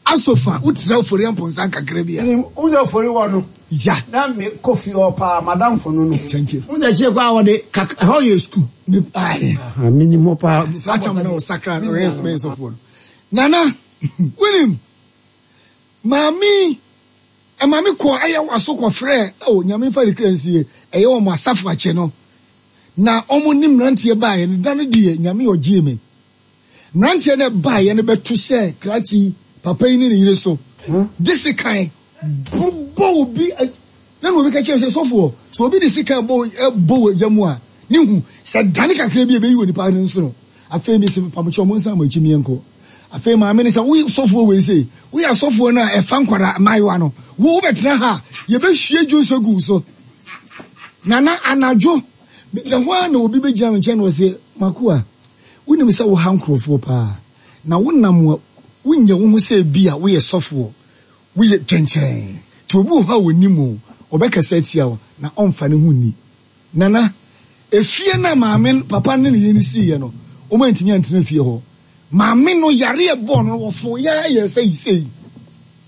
[SPEAKER 4] Asofa, wotra Ofori Amponsah kakra bi a.
[SPEAKER 1] Menim, wohu sɛ Ofori wɔ no.
[SPEAKER 4] Ya.
[SPEAKER 1] Na mekɔ fie hɔ paa, m'adamfo no no.
[SPEAKER 4] Thank you.
[SPEAKER 1] Wohu sɛ akyire koraa wɔde kak, ɛhɔ yɛ sukuu.
[SPEAKER 4] Me, aye.
[SPEAKER 1] Menim hɔ paa.
[SPEAKER 4] Saa tam na ɔsakra no, ɔyɛ sɔfoɔ no. Nana, wonim, maame yi, ɛma me kɔɔ ɛyɛ waso kɔfrɛɛ, oh, Nyame mfa ne kra nsie, ɛyɛ wɔn asafo akyɛ no, na wɔn ne mmeranteɛ baeɛ no, da no deɛ, Nyame ɔgyee me. Mmeranteɛ no baeɛ no bɛto hyɛɛ krakye yi, papa yi ne ne yere so, de sekan bobɔ obi, na na obi ka kyerɛ sɛ, sɔfoɔ, sɛ obi de sekan bɔ bɔ wɔ gya mu a, ne hu, sɛ dane kakra bi a, ɛbɛyi onipa no nsono. Afei mese, Mpamokyɛw, monsan mo akyi meɛnkɔ. Afei maame no sɛ, Wo sɔfoɔ wei sei, woyɛ asɔfoɔ no a ɛfa nkwadaa mmaayewa no, wo wobɛtena ha a, yɛbɛhwie dwonsɔ agu wo so. Nana, anadwo, meda hɔ ara na obi bɛgyina me nkyɛn na ɔse, M'akoa, wonim sɛ woha nkurɔfoɔ paa, na wonam a wonyɛ wo ho sɛ ebia woyɛ sɔfoɔ, woyɛ kyɛnkyerɛn. Nti obi wɔ hɔ a ɔnim wo, ɔbɛkasa atia wo, na ɔmfa ne ho nni. Nana, efie no a maame no, papa no ne ne yere no siiɛ no, wɔantumi antena fie hɔ. Maame no yareɛ bɔɔ no no, wɔfoo yɛ ara yɛɛ sɛ sei.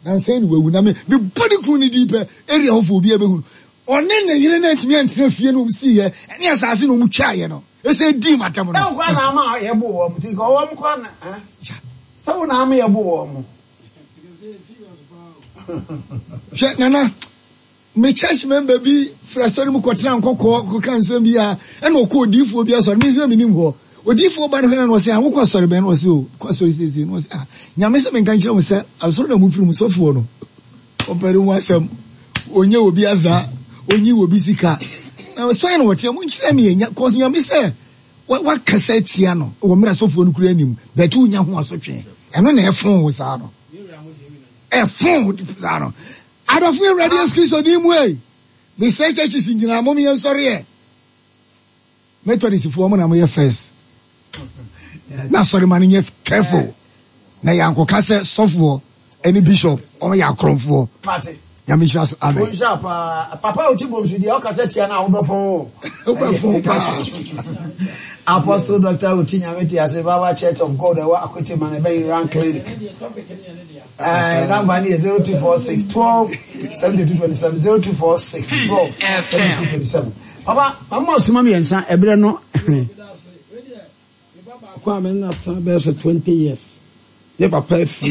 [SPEAKER 4] Nansa yi na wawu. Na me, mebɔ ne kunu no din pɛ, area hɔfoɔ obiara bɛhu no. Ɔne ne yere no antumi antena fie no a wɔsiiɛ ne asase no a wɔtwaeɛ no. Ɛsɛ dii m'atɛm no.
[SPEAKER 1] Sɛ wo koraa na ama yɛboo wɔn, nti nka wɔn koraa na, eh? Sɛ wo na ama yɛboo wɔn.
[SPEAKER 4] Hwɛ, Nana, Me church member bi firi asɔre mu kɔtena nkɔkɔɔ kɔka nsɛm bi a ɛna ɔkɔ odiifoɔ bi asɔre me nso menim hɔ odiifoɔ ba no hwɛ na ɔsɛ a wokɔ asɔre bɛn na ɔsɛ o kɔ asɔre siesie na ɔsɛ a nyame sɛ menka nkyerɛ wo sɛ asɔre na mofiri mu sɔfoɔ no ɔpɛ ne ho asɛm ɔnyɛ obi asa ɔnyi obi sika na sɔre na wɔteɛ monkyerɛ me nya kɔs nyame sɛ wakasa atia no wɔ mmerɛ asɔfoɔ no kura anim bɛte wonya ho asotwe ɛno na ɛfon wo saa no ɛfon wo saa no Adɔfo yɛn Awurade Yesu Kristo din mu ei, mesrɛ churches nyinaa mom yɛn sɔre ɛ. Methodist foɔ mo na moyɛ first. Na asɔre ma no nyɛ careful. Na yɛankɔka sɛ sɔfoɔ ɛne bishop wɔn yɛ akorɔmfoɔ. Nyame nhyira so. Amen.
[SPEAKER 1] Wonhyira paa. Papa a ɔte bom so deɛ ɔkasa tia no a wobɛfɔn o.
[SPEAKER 3] Wobɛfɔn paa.
[SPEAKER 1] Apostle Dr. Oti Nyame te ase Revival Church of God ɛwɔ Akwete man ɛbɛn Iran Clinic. Ɛɛ number no yɛ 0246 12 72 27 0246 12 72 27. Papa, mama ɔsoma mmiɛnsa ɛberɛ no.
[SPEAKER 2] Baako a me nna tena bɛyɛ sɛ 20 years. Ne papa afiri.